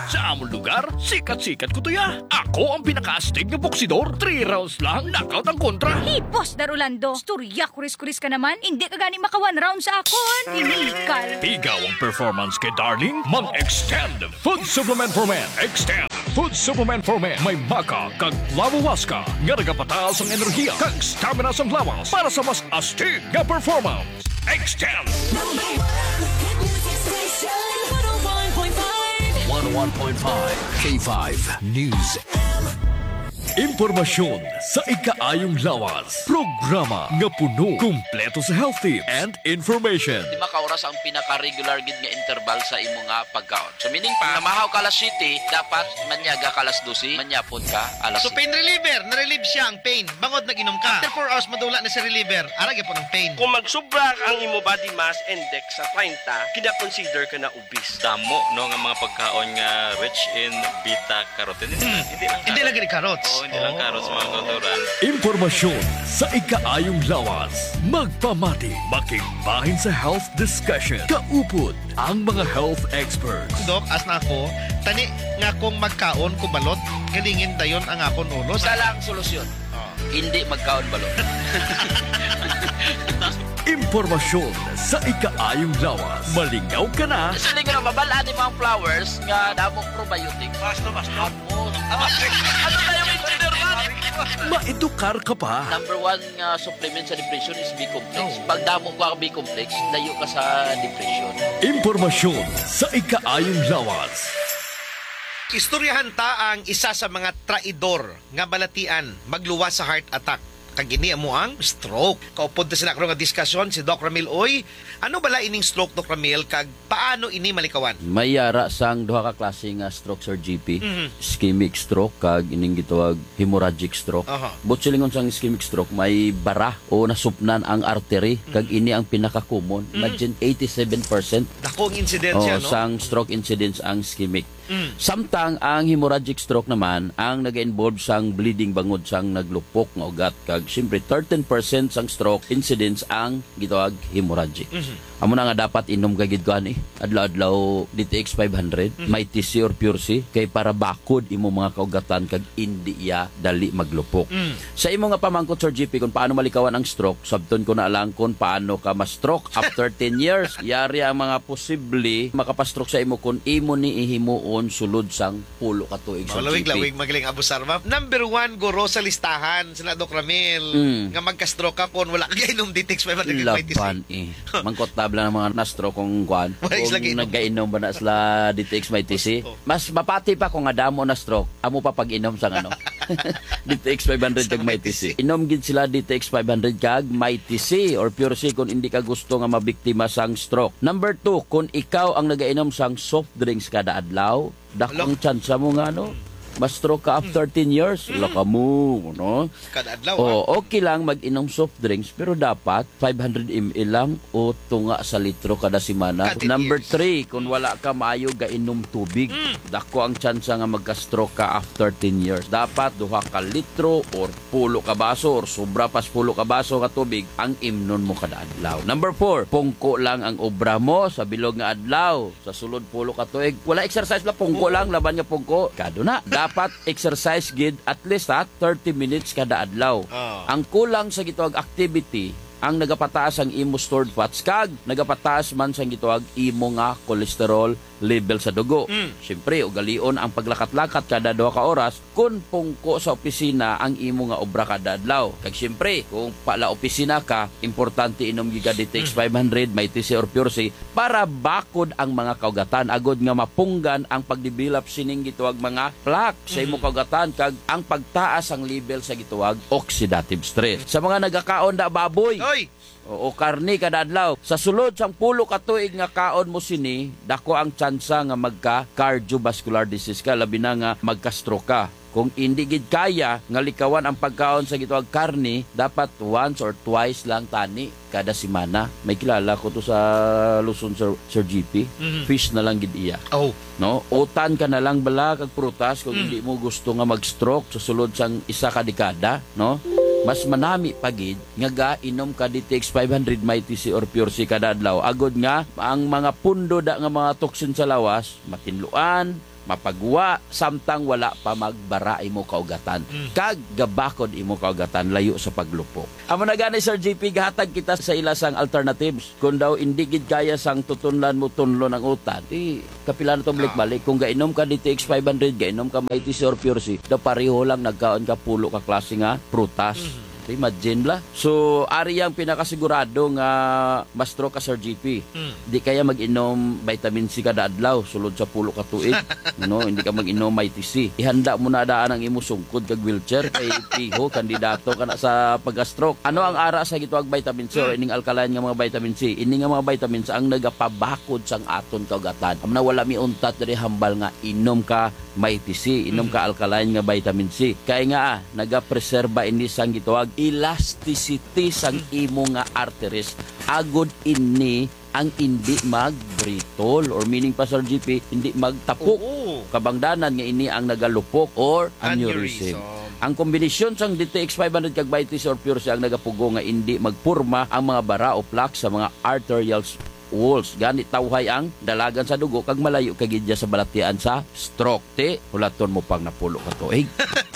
Sa amon lugar, sikat-sikat ko tuya. Ako ang pinakaastig nga boksidor. Three rounds lang, knockout ang kontra. Hipos, Dar Orlando. Storya, kuris-kuris ka naman. Hindi ka gani maka one round sa akon. Inikal. Pigaw ang performance kay Darling. Mag-extend Food Supplement for Men. Extend Food Supplement for Men. May maca kag flavowaska nga nagapataas ang enerhiya kag stamina sang lawas para sa mas astig nga performance. Extend. Number one hit music station, one oh one point five. One oh one point five K five News. Impormasyon sa ikaayong lawas. Programa nga puno, kumpleto sa health tips and information. Lima ka oras ang pinaka-regular gid nga interval sa imo nga pagkaon. So, meaning pa, namahaw ka alas siyete, dapat manyaga ka alas dose, manyapon ka alas So, siyete. Pain reliever, na-relieve siya ang pain. Bangod nag-inom ka. After four hours, madula na si reliever. Ara gyapon ang pain. Kung magsubra ang imo body mass index sa treinta, kina-consider ka na obese. Damo, no, nga mga pagkaon nga rich in beta carotene. Hindi lang Hindi carrots. Lagi ni carrots. Oo, hindi lang carrots, mga kautoran. Impormasyon sa ikaayong lawas. Magpamati, makigbahin sa health discussion. Kaupod ang mga health experts. Dok, as na ako, tani nga kung magkaon ko balot, galingin dayon ang akon ulo. Isa lang solusyon. Oh. Hindi magkaon balot. Impormasyon sa ikaayong lawas. Malingaw ka na. Siling ra, mabal-an ni mga flowers nga damong probiotics. Basta, basta. Ano? Ano na yung engineer man? Maedukar ka pa. Number one nga supplement sa depression is B-complex. Oh. Pag damo ka B-complex, layo ka sa depression. Impormasyon sa ikaayong lawas. Istoryahan ta ang isa sa mga traidor nga balatian magluwas sa heart attack. Kag ini amo ang stroke. Kaupod ta sila karon nga diskusyon si Doc Ramil Uy. Ano bala ining stroke, Doc Ramil, kag paano ini malikawan? May yara sang duha ka klase nga stroke, Sir G P. Mhm. Ischemic stroke kag ining gitawag hemorrhagic stroke. Aha. Buot silingon, sang ischemic stroke, may bara o nasupnan ang artery, kag Mhm. ini ang pinaka-common. Mhm. Imagine, eighty-seven percent Dako ang insidensya, Oh, no? sang stroke incidence ang ischemic. Mm. Samtang ang hemorrhagic stroke naman ang naga-involve sang bleeding bangod sang naglupok nga ugat, kag siyempre thirteen percent sang stroke incidence ang gitawag hemorrhagic. Mhm. Amo na nga dapat inom ka gid ko ani, adlaw-adlaw D T X five hundred, Mhm. Mighty C or Pure C, kay para bakod imo mga kaugatan kag indi iya dali maglupok. Mm. Sa imo nga pamangkot, Sir G P, kung paano malikawan ang stroke, sabton ko na lang kung paano ka ma-stroke after ten years. Yari ang mga posible makapastrok sa imo kung imo ni ihimuon sulod sang pulo ka tuig, Sir G P. Malawig-lawig, magaling abusar, ma'am. Number one, guro, sa listahan, sila Doc Ramil, Mm. nga magka-stroke ka kung wala ka gainom Detox five hundred kag Mighty C. Laban, eh. Mangkot tabla ng mga na-stroke kung kuan. Wala sila Kung gainom. nagainom ba na sila Detox Mighty C? Gusto. Mas mapati pa kung nga damo na-stroke, amo pa pag-inom sang ano. Detox five hundred Sa kag Mighty C. Mighty C. Inom gid sila Detox five hundred kag Mighty C or Pure C kung hindi ka gusto nga mabiktima sang stroke. Number two, kung ikaw ang nagainom sang soft drinks kada adlaw, dakong Ala. tsansa mo nga, no? Ma-stroke ka after ten years, Mm. wala ka mo, no? Kada adlaw, Oh, ah. okay lang mag-inom soft drinks, pero dapat five hundred M L lang o tunga sa litro kada semana. Kada Number years. three, kung wala ka maayo gainom tubig, Mm. dako ang tsansa nga magka-stroke ka after ten years. Dapat duha ka litro or pulo ka baso or sobra pas pulo ka baso nga tubig ang imnon mo kada adlaw. Number four, pungko lang ang obra mo sa bilog nga adlaw. Sa sulod pulo ka tuig, wala exercise, wala pungko Oo. lang, laban nga pungko. Kado na. Dapat exercise gid at least, ha, thirty minutes kada adlaw. Ah. Ang kulang sa gitawag activity ang nagapataas ang imo stored fats kag nagapataas man sang gitawag imo nga cholesterol level sa dugo. Mm. Siyempre, ugalion ang paglakat-lakat kada duha ka oras. Kun pungko sa opisina ang imo nga obra kada adlaw. Kag siyempre, kung pala opisina ka, importante inom gid ka Detox Mm. five hundred, Mighty C or Pure C para bakod ang mga kaugatan agod nga mapunggan ang pagdevelop sining gitawag mga plaque sa imo Mm. kaugatan kag ang pagtaas ang level sa gitawag oxidative stress. Sa mga nagakaon da baboy, Oy! Oo, karne kada adlaw. Sa sulod sang pulo ka tuig nga kaon mo sini, dako ang tsansa nga magka cardiovascular disease ka, labi na nga magka-stroke ka. Kung hindi gid kaya nga likawan ang pagkaon sa gitawag karne, dapat once or twice lang tani kada semana. May kilala ko to sa Luzon, Sir, Sir G P. Mhm. Fish na lang gid iya. Oh. No? Utan ka na lang bala kag prutas kung Mm. hindi mo gusto nga mag-stroke sa sulod sang isa ka dekada, no? Mas manami pa gid nga gainom ka D T X five hundred, Mighty C or Pure C kada adlaw, agod nga ang mga pundo da nga mga toxin sa lawas matinluan, mapagwa, samtang wala pa magbara imo kaugatan. Mm. Kag gabakod imo kaugatan, layo sa paglupok. Amo na gani, Sir G P, gahatag kita sa ila sang alternatives. Kung daw indi gid kaya sang tutunlan mo tunlon ang utan, di kapila na to Ah. balik-balik. Kung gainom ka D T X five hundred, gainom ka Mighty C or Pure C, daw pareho lang nagkaon ka pulo ka klase nga prutas. Mhm. Imagine la. So, ari ang pinakasigurado nga ma-stroke ka, Sir G P. Mm. Di kaya mag-inom vitamin C kada adlaw, sulod sa pulo ka tuig. No, hindi ka mag-inom Mighty C. Ihanda mo na daan ang imo sungkod kag wheelchair kay piho, kandidato ka na sa pagka-stroke. Ano ang ara sa gitawag vitamin C or Mm. ining alkaline nga mga vitamin C? Ini nga mga vitamins ang nagapabakod sang aton kaugatan. Amo na, wala mi untat diri hambal nga inom ka Mighty C, inom ka alkaline nga vitamin C. Kay nga, ah, nagapreserba ini sang gitawag elasticity sang imo nga arteries. Agod ini ang hindi magbritol, or meaning pa, Sir G P, hindi magtapok. Oo. Kabangdanan nga ini ang nagalupok or aneurysm. Aneurysm. Ang kombinasyon sang D T X five hundred kag Mighty C or Pure C ang nagapugo nga hindi magporma ang mga bara o plaque sa mga arterial walls. Gani tawhay ang dalagan sa dugo kag malayo ka gid sa balatian sa stroke. Ti, hulaton mo pang napulo ka tuig.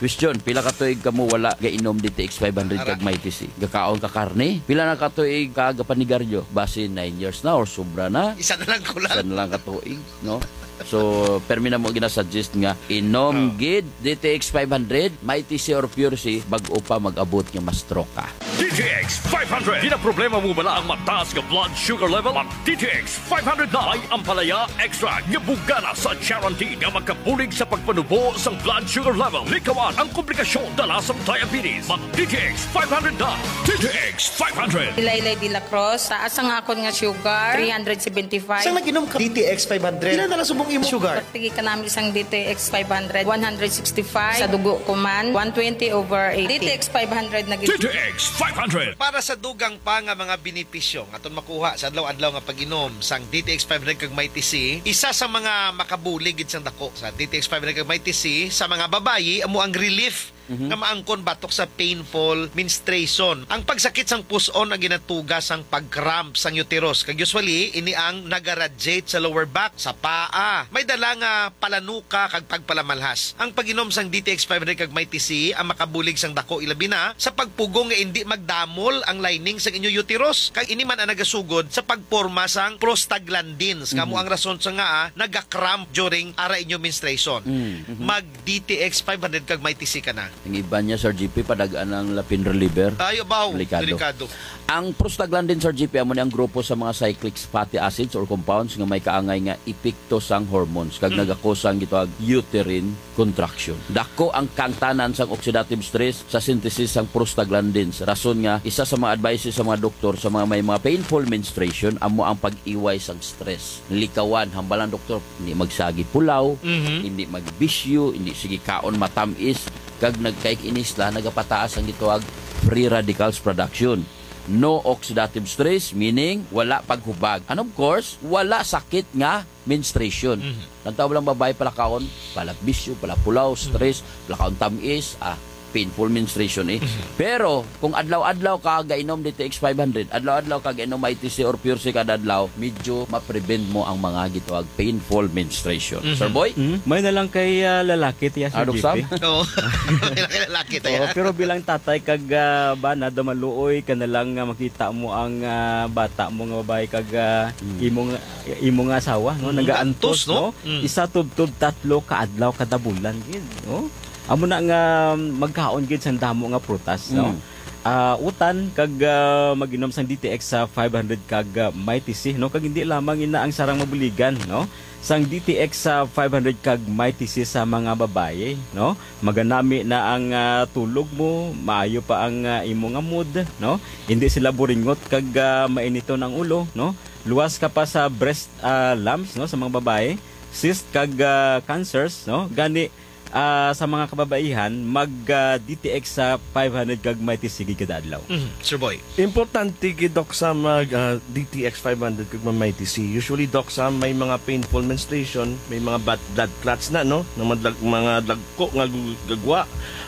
Question, pila ka tuig kamo wala gainom D T X five hundred kag Mighty C? Gakaon ka karne? Pila na ka tuig ka gapanigaryo? Basi nine years na or sobra na. Isa na lang ko lang. Isa na lang ka tuig, no? So, permi na mo ginasuggest nga inom Oh. gid D T X five hundred, Mighty C or Pure C, bag-o pa mag-abot nga ma-stroke ka. D T X five hundred. Ginaproblema mo bala ang mataas nga blood sugar level? Mag D T X five hundred na. May ampalaya extract nga bugana sa charantin nga makabulig sa pagpanubo sang blood sugar level. Likawan ang komplikasyon dala sang diabetes. Mag D T X five hundred na. D T X five hundred. Ilaylay de la Cruz, taas ang akon nga sugar, three hundred seventy-five. Sang nag-inom ka D T X five hundred, pila na lang subong imo sugar? Pagtigi ka namin sang D T X five hundred, one hundred sixty-five. Sa dugo ko man, one twenty over eighty. D T X five hundred na gid. D T X five hundred. Para sa dugang pa nga mga benepisyo nga aton makuha sa adlaw-adlaw nga pag-inom sang D T X five hundred kag Mighty C, isa sa mga makabulig gid sang dako sa D T X five hundred kag Mighty C sa mga babayi amo ang relief Mhm. nga maangkon batok sa painful menstruation. Ang pagsakit sang pus-on ang ginatuga sang pag-cramp sang uterus, kag usually ini ang nagaradiate sa lower back, sa paa. May dala nga palanuka kag pagpalamalhas. Ang pag-inom sang D T X five hundred kag Mighty C ang makabulig sang dako, ilabi na sa pagpugong nga indi magdamol ang lining sang inyo uterus, kag ini man ang nagasugod sa pagporma sang prostaglandins, nga amo Mhm. ang rason sa nga, ah, naga-cramp during ara inyo menstruation. Mm. Mhm. Mag D T X five hundred kag Mighty C ka na. Ang iban niya, Sir G P, padag-an ang lapin reliever. Ay, abaw, Delikado. delikado. Ang prostaglandin, Sir G P, amo ni ang grupo sa mga cyclic fatty acids or compounds nga may kaangay nga epekto sang hormones kag Mm. nagakos sang gitawag uterine contraction. Dako ang kangtanan sang oxidative stress sa synthesis sang prostaglandins. Rason nga isa sa mga advices sa mga doktor sa mga may mga painful menstruation amo ang pag-iway sang stress. Likawan, hambal ang doktor, hindi magsagi pulaw, Mhm. hindi magbisyo, hindi sige kaon matamis, kag nagkaikinis la, nagapataas ang gitawag free radicals production. No oxidative stress, meaning wala paghubag. And of course, wala sakit nga menstruation. Mhm. Ang tawag lang babae palakaon, palabisyo, palapulaw, Mhm. stress, palakaon tamis, ah, painful menstruation eh. Mhm. Pero kung adlaw-adlaw ka gainom D T X five hundred, adlaw-adlaw ka gainom I T C or Pure C kada adlaw, medyo ma-prevent mo ang mga gitawag painful menstruation. Mhm. Sir Boy? Mhm. May na lang kay, ah, lalaki, tiya, Sir Ano, G P. Sam? Oo. May na kay lalaki, tiya. Oo, pero bilang tatay kag, ah, bana, daw maluoy ka na lang nga makita mo ang, ah, bata mo nga babae kag, ah, Mm. imo nga, imo nga asawa, no? Mm, Nagaantos, antos, no? no? Mm. Isa tubtob tatlo ka adlaw kada bulan gid, no? Amo na nga magkaon gid sang damo nga prutas, no? Mm. Ah, utan kag, ah, mag-inom sang D T X sa five hundred kag, ah, Mighty C, no? Kag hindi lamang ina ang sarang mabuligan, no? Sang D T X sa five hundred kag Mighty C sa mga babayi, no? Maganami na ang, ah, tulog mo, maayo pa ang, ah, imo nga mood, no? Hindi sila buringot kag, ah, mainiton ang ulo, no? Luwas ka pa sa breast, ah, lumps, no, sa mga babayi, cyst kag, ah, cancers, no? Gani, Ah, sa mga kababaihan, mag, ah, D T X sa five hundred kag Mighty C gid kada adlaw. Mhm, Sir Boy. Importante gid, Doc, sa mag, ah, D T X five hundred kag mag Mighty C. Usually, Doc, sa may mga painful menstruation, may mga bad, blood clots na, no? Ng mga, dag- mga dagko nga gu- gagwa.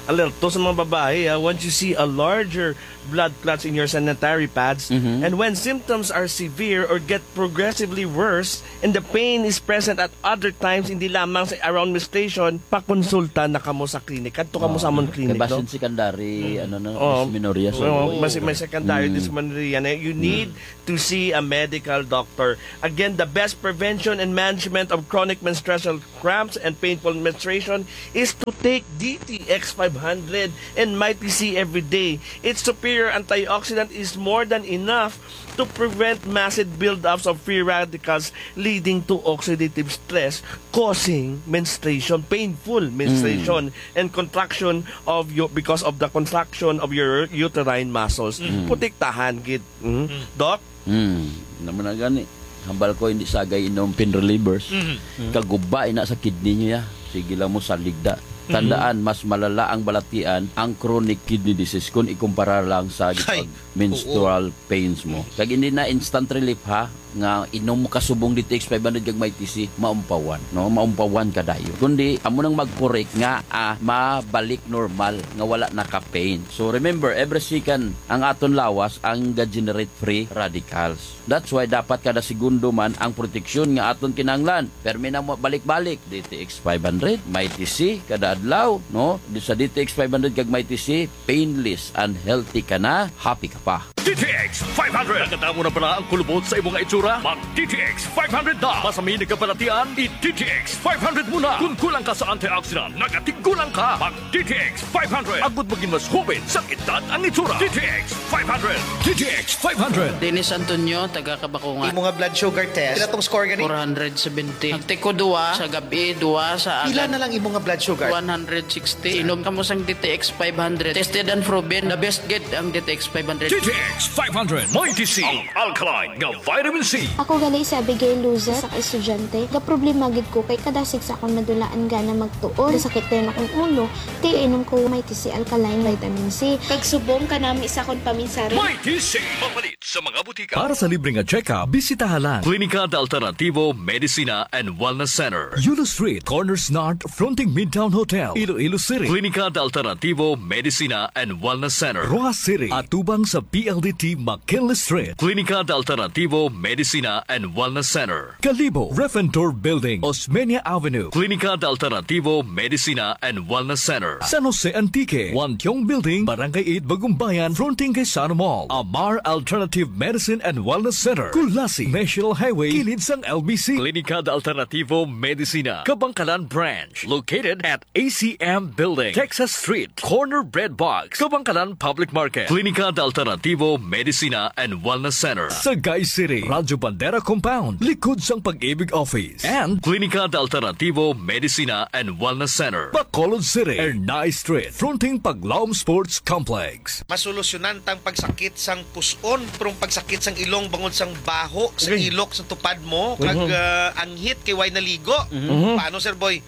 Alerto sa mga babae, ah, once you see a larger blood clots in your sanitary pads, Mhm. and when symptoms are severe or get progressively worse, and the pain is present at other times, hindi lamang sa around menstruation, pakonsulta na kamo sa klinik. Kadto kamo sa amon klinik, Kay basin no? secondary, Mm. ano na, Oo. dysmenorrhia, sir. Oo, mas, may secondary Mm. dysmenorrhea na. You Mm. need to see a medical doctor. Again, the best prevention and management of chronic menstrual cramps and painful menstruation is to take D T X five hundred and Mighty C every day. Its superior antioxidant is more than enough to prevent massive buildups of free radicals leading to oxidative stress causing menstruation, painful menstruation, Mm. and contraction of your, because of the contraction of your uterine muscles. Mm. Protektahan gid. Mm. Mm. Doc? Hmm, naman na gani. Hambal ko, hindi sagay inom pain relievers. Mhm. Kaguba ina sa kidney niya. Sige lang mo saligda. Mhm. Tandaan, mas malala ang balatian, ang chronic kidney disease, kung ikumpara lang sa Ay, gitawag menstrual pains mo. Mhm. Kag hindi na instant relief, ha, nga inom mo kasubong D T X five hundred kag Mighty C, maumpawan, no? Maumpawan ka dayo. Kundi, amo nang mag-correct nga, ah, mabalik normal, nga wala na ka pain. So, remember, every second, ang aton lawas ang ga-generate free radicals. That's why dapat kada segundo man ang proteksyon nga aton kinahanglan. Permi na mo balik-balik, D T X five hundred, Mighty C, kada adlaw, no? Di sa D T X five hundred kag Mighty C, painless and healthy ka na, happy ka pa. D T X five hundred. Nakadamo na bala ang kulubot sa imong itsura? Mag D T X five hundred na. Masami nagkabalatian, i D T X five hundred mo na. Kung kulang ka sa antioxidant, nagatigulang ka. Mag D T X five hundred. Agud maging mas hubin sa edad ang itsura. D T X five hundred. D T X five hundred. Dennis Antonio, taga Kabakungan. Imo nga blood sugar test, pila tong score gani? Four hundred seventy. Nagtiko duwa sa gabi, duwa sa Pila agad. na lang imo nga blood sugar? One hundred sixty. Inom kamo sang D T X five hundred. Tested and proven. The best gid ang D T X five hundred. D T X five hundred. Mighty C. Ang alkaline nga vitamin C. Ako gali si Abigail Luzet, sa ka-estudyante. Gaproblema gid ko kay kadasig sa akong madulaan gana magtuon. Gasakit dayon akong ulo. Kay inom ko Mighty C Alkaline Vitamin C. Kag subong kanami sa akong paminsari. Mighty C. Mapalit sa mga butika. Para sa libre nga check-up, bisitaha lang Klinika de Alternativo Medicina and Wellness Center. Yulo Street, Corners North, fronting Midtown Hotel, Iloilo City. Klinika de Alternativo Medicina and Wellness Center. Roxas City, atubang sa P L D T McKinley Street. Klinika de Alternativo Medicina and Wellness Center. Kalibo, Refentor Building, Osmeña Avenue. Klinika de Alternativo Medicina and Wellness Center. San Jose Antique, Wantiong Building, Barangay eight, Bagumbayan, fronting kay Sano Mall. Amar Alternative Medicine and Wellness Center, Culasi, National Highway, kilid sang L B C. Klinika de Alternativo Medicina, Kabangkalan Branch, located at A C M Building, Texas Street, corner Bread Box, Kabangkalan Public Market. Klinika de Alternativo Medicina and Wellness Center. Sagay City, Radyo Bandera Compound, likod sang Pag-ibig Office. And Klinika de Alternativo Medicina and Wellness Center. Bacolod City, Ernai Street, fronting Paglaom Sports Complex. Masolusyonan tang pagsakit sang pus-on, pero ang pagsakit sang ilong bangod sang baho, sa Okay. ilok, sa tupad mo, kag, Mhm. ah, anghit kay way naligo. Mhm. Paano, Sir Boy?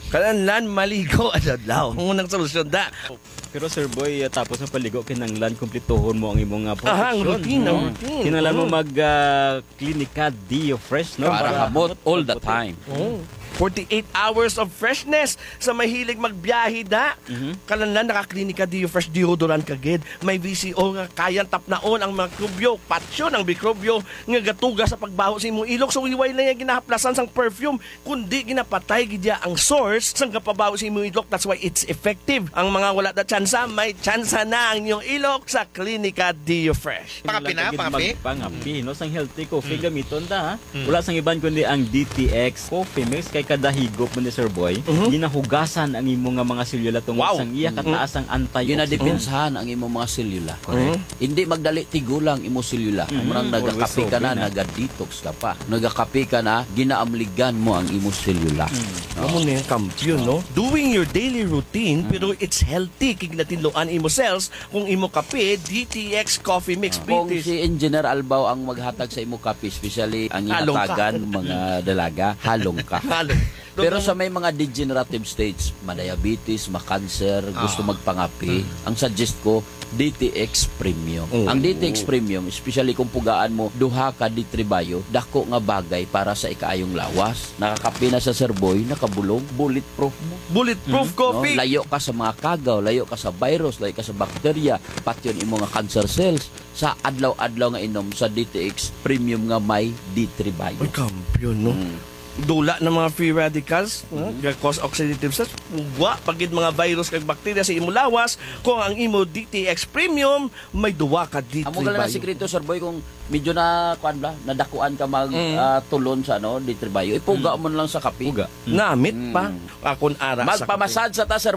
Kinahanglan maligo adlaw. Ang unang solusyon da. Pero, Sir Boy, ah, tapos ang paligo, kinahanglan kumplituhon mo ang imong, ah, Aha, ang proteksyon, routine, ang no? routine. Kinahanglan mo Mm. mag, ah, Klinika Deo Fresh, no? Para Para hamot hamot all the pagputi. time. Oh. Forty-eight hours of freshness sa mahilig magbiyahe da. Mhm. Kinahanglan naka-Klinika Deo Fresh deodorant ka gid. May V C O nga kayang tapnaon ang mikrobyo, patyon ang mikrobyo nga gatuga sa pagbaho sa imong ilok. So, way na niya ginahaplasan sang perfume, kundi ginapatay gid niya ang source sang gapabaho sa imong ilok. That's why it's effective. Ang mga wala na tsansa, may tsansa na ang inyong ilok sa Klinika Deo Fresh. Pangapi na, Kinahanglan pangapi? mag-, pangapi, no? Sang healthy coffee, Mm. gamiton ta, ha? Mm. Wala sang iban kundi ang D T X Coffee Mix. Kay kada higop mo ni Sir Boy, Mhm. ginahugasan ang imong nga mga selula tungod Wow. sang iya Mhm. kataas ang antioxidant. Ginadepensahan ang imong mga selula. Correct. Mhm. Hindi magdali tigulang imong selula. Mm, Murang always nagakape ka na, open, ah. naga-detox ka pa. Nagakape ka na, ginaamligan mo ang imong selula. Mm. Amo na yung kampiyon, no? Doing your daily routine, Mm. pero it's healthy. Kay ginatinluan imo cells kung imo kape, D T X Coffee Mix, Ah. Kung B T X. si Engineer Albao ang maghatag sa imo kape, especially ang Halong ka. ihatagan, mga dalaga, halong ka. Halong. Pero sa may mga degenerative states, ma-diabetes, ma-cancer, gusto Ah. magpangapi, ang suggest ko, D T X Premium. Oo. Ang D T X Premium, especially kung pugaan mo, duha ka D three Bio, dako nga bagay para sa ikaayong lawas. Nakakapi na sa Sir Boy, nakabulong, bulletproof mo. Bulletproof No? coffee. Layo ka sa mga kagaw, layo ka sa virus, layo ka sa bakterya, pati yung imo nga cancer cells sa adlaw-adlaw nga inom sa D T X Premium nga may D three Bio. Ay, kampiyon, no? Mm. Dula ng mga free radicals, no? Kag cause oxidative stress. Wa pagid mga virus kag bakterya sa imo lawas kung ang imo D T X Premium may duwa ka D three Amo gala na Bio. Sikreto, Sir Boy, kung medyo na, kuan ba, nadakuan ka mag Mm. ah, tulon sa ano, D three Bio, ipuga mo na lang sa kape. Puga. Namit Mm. pa. Akon ara sa Magpamasad sa ta, Sir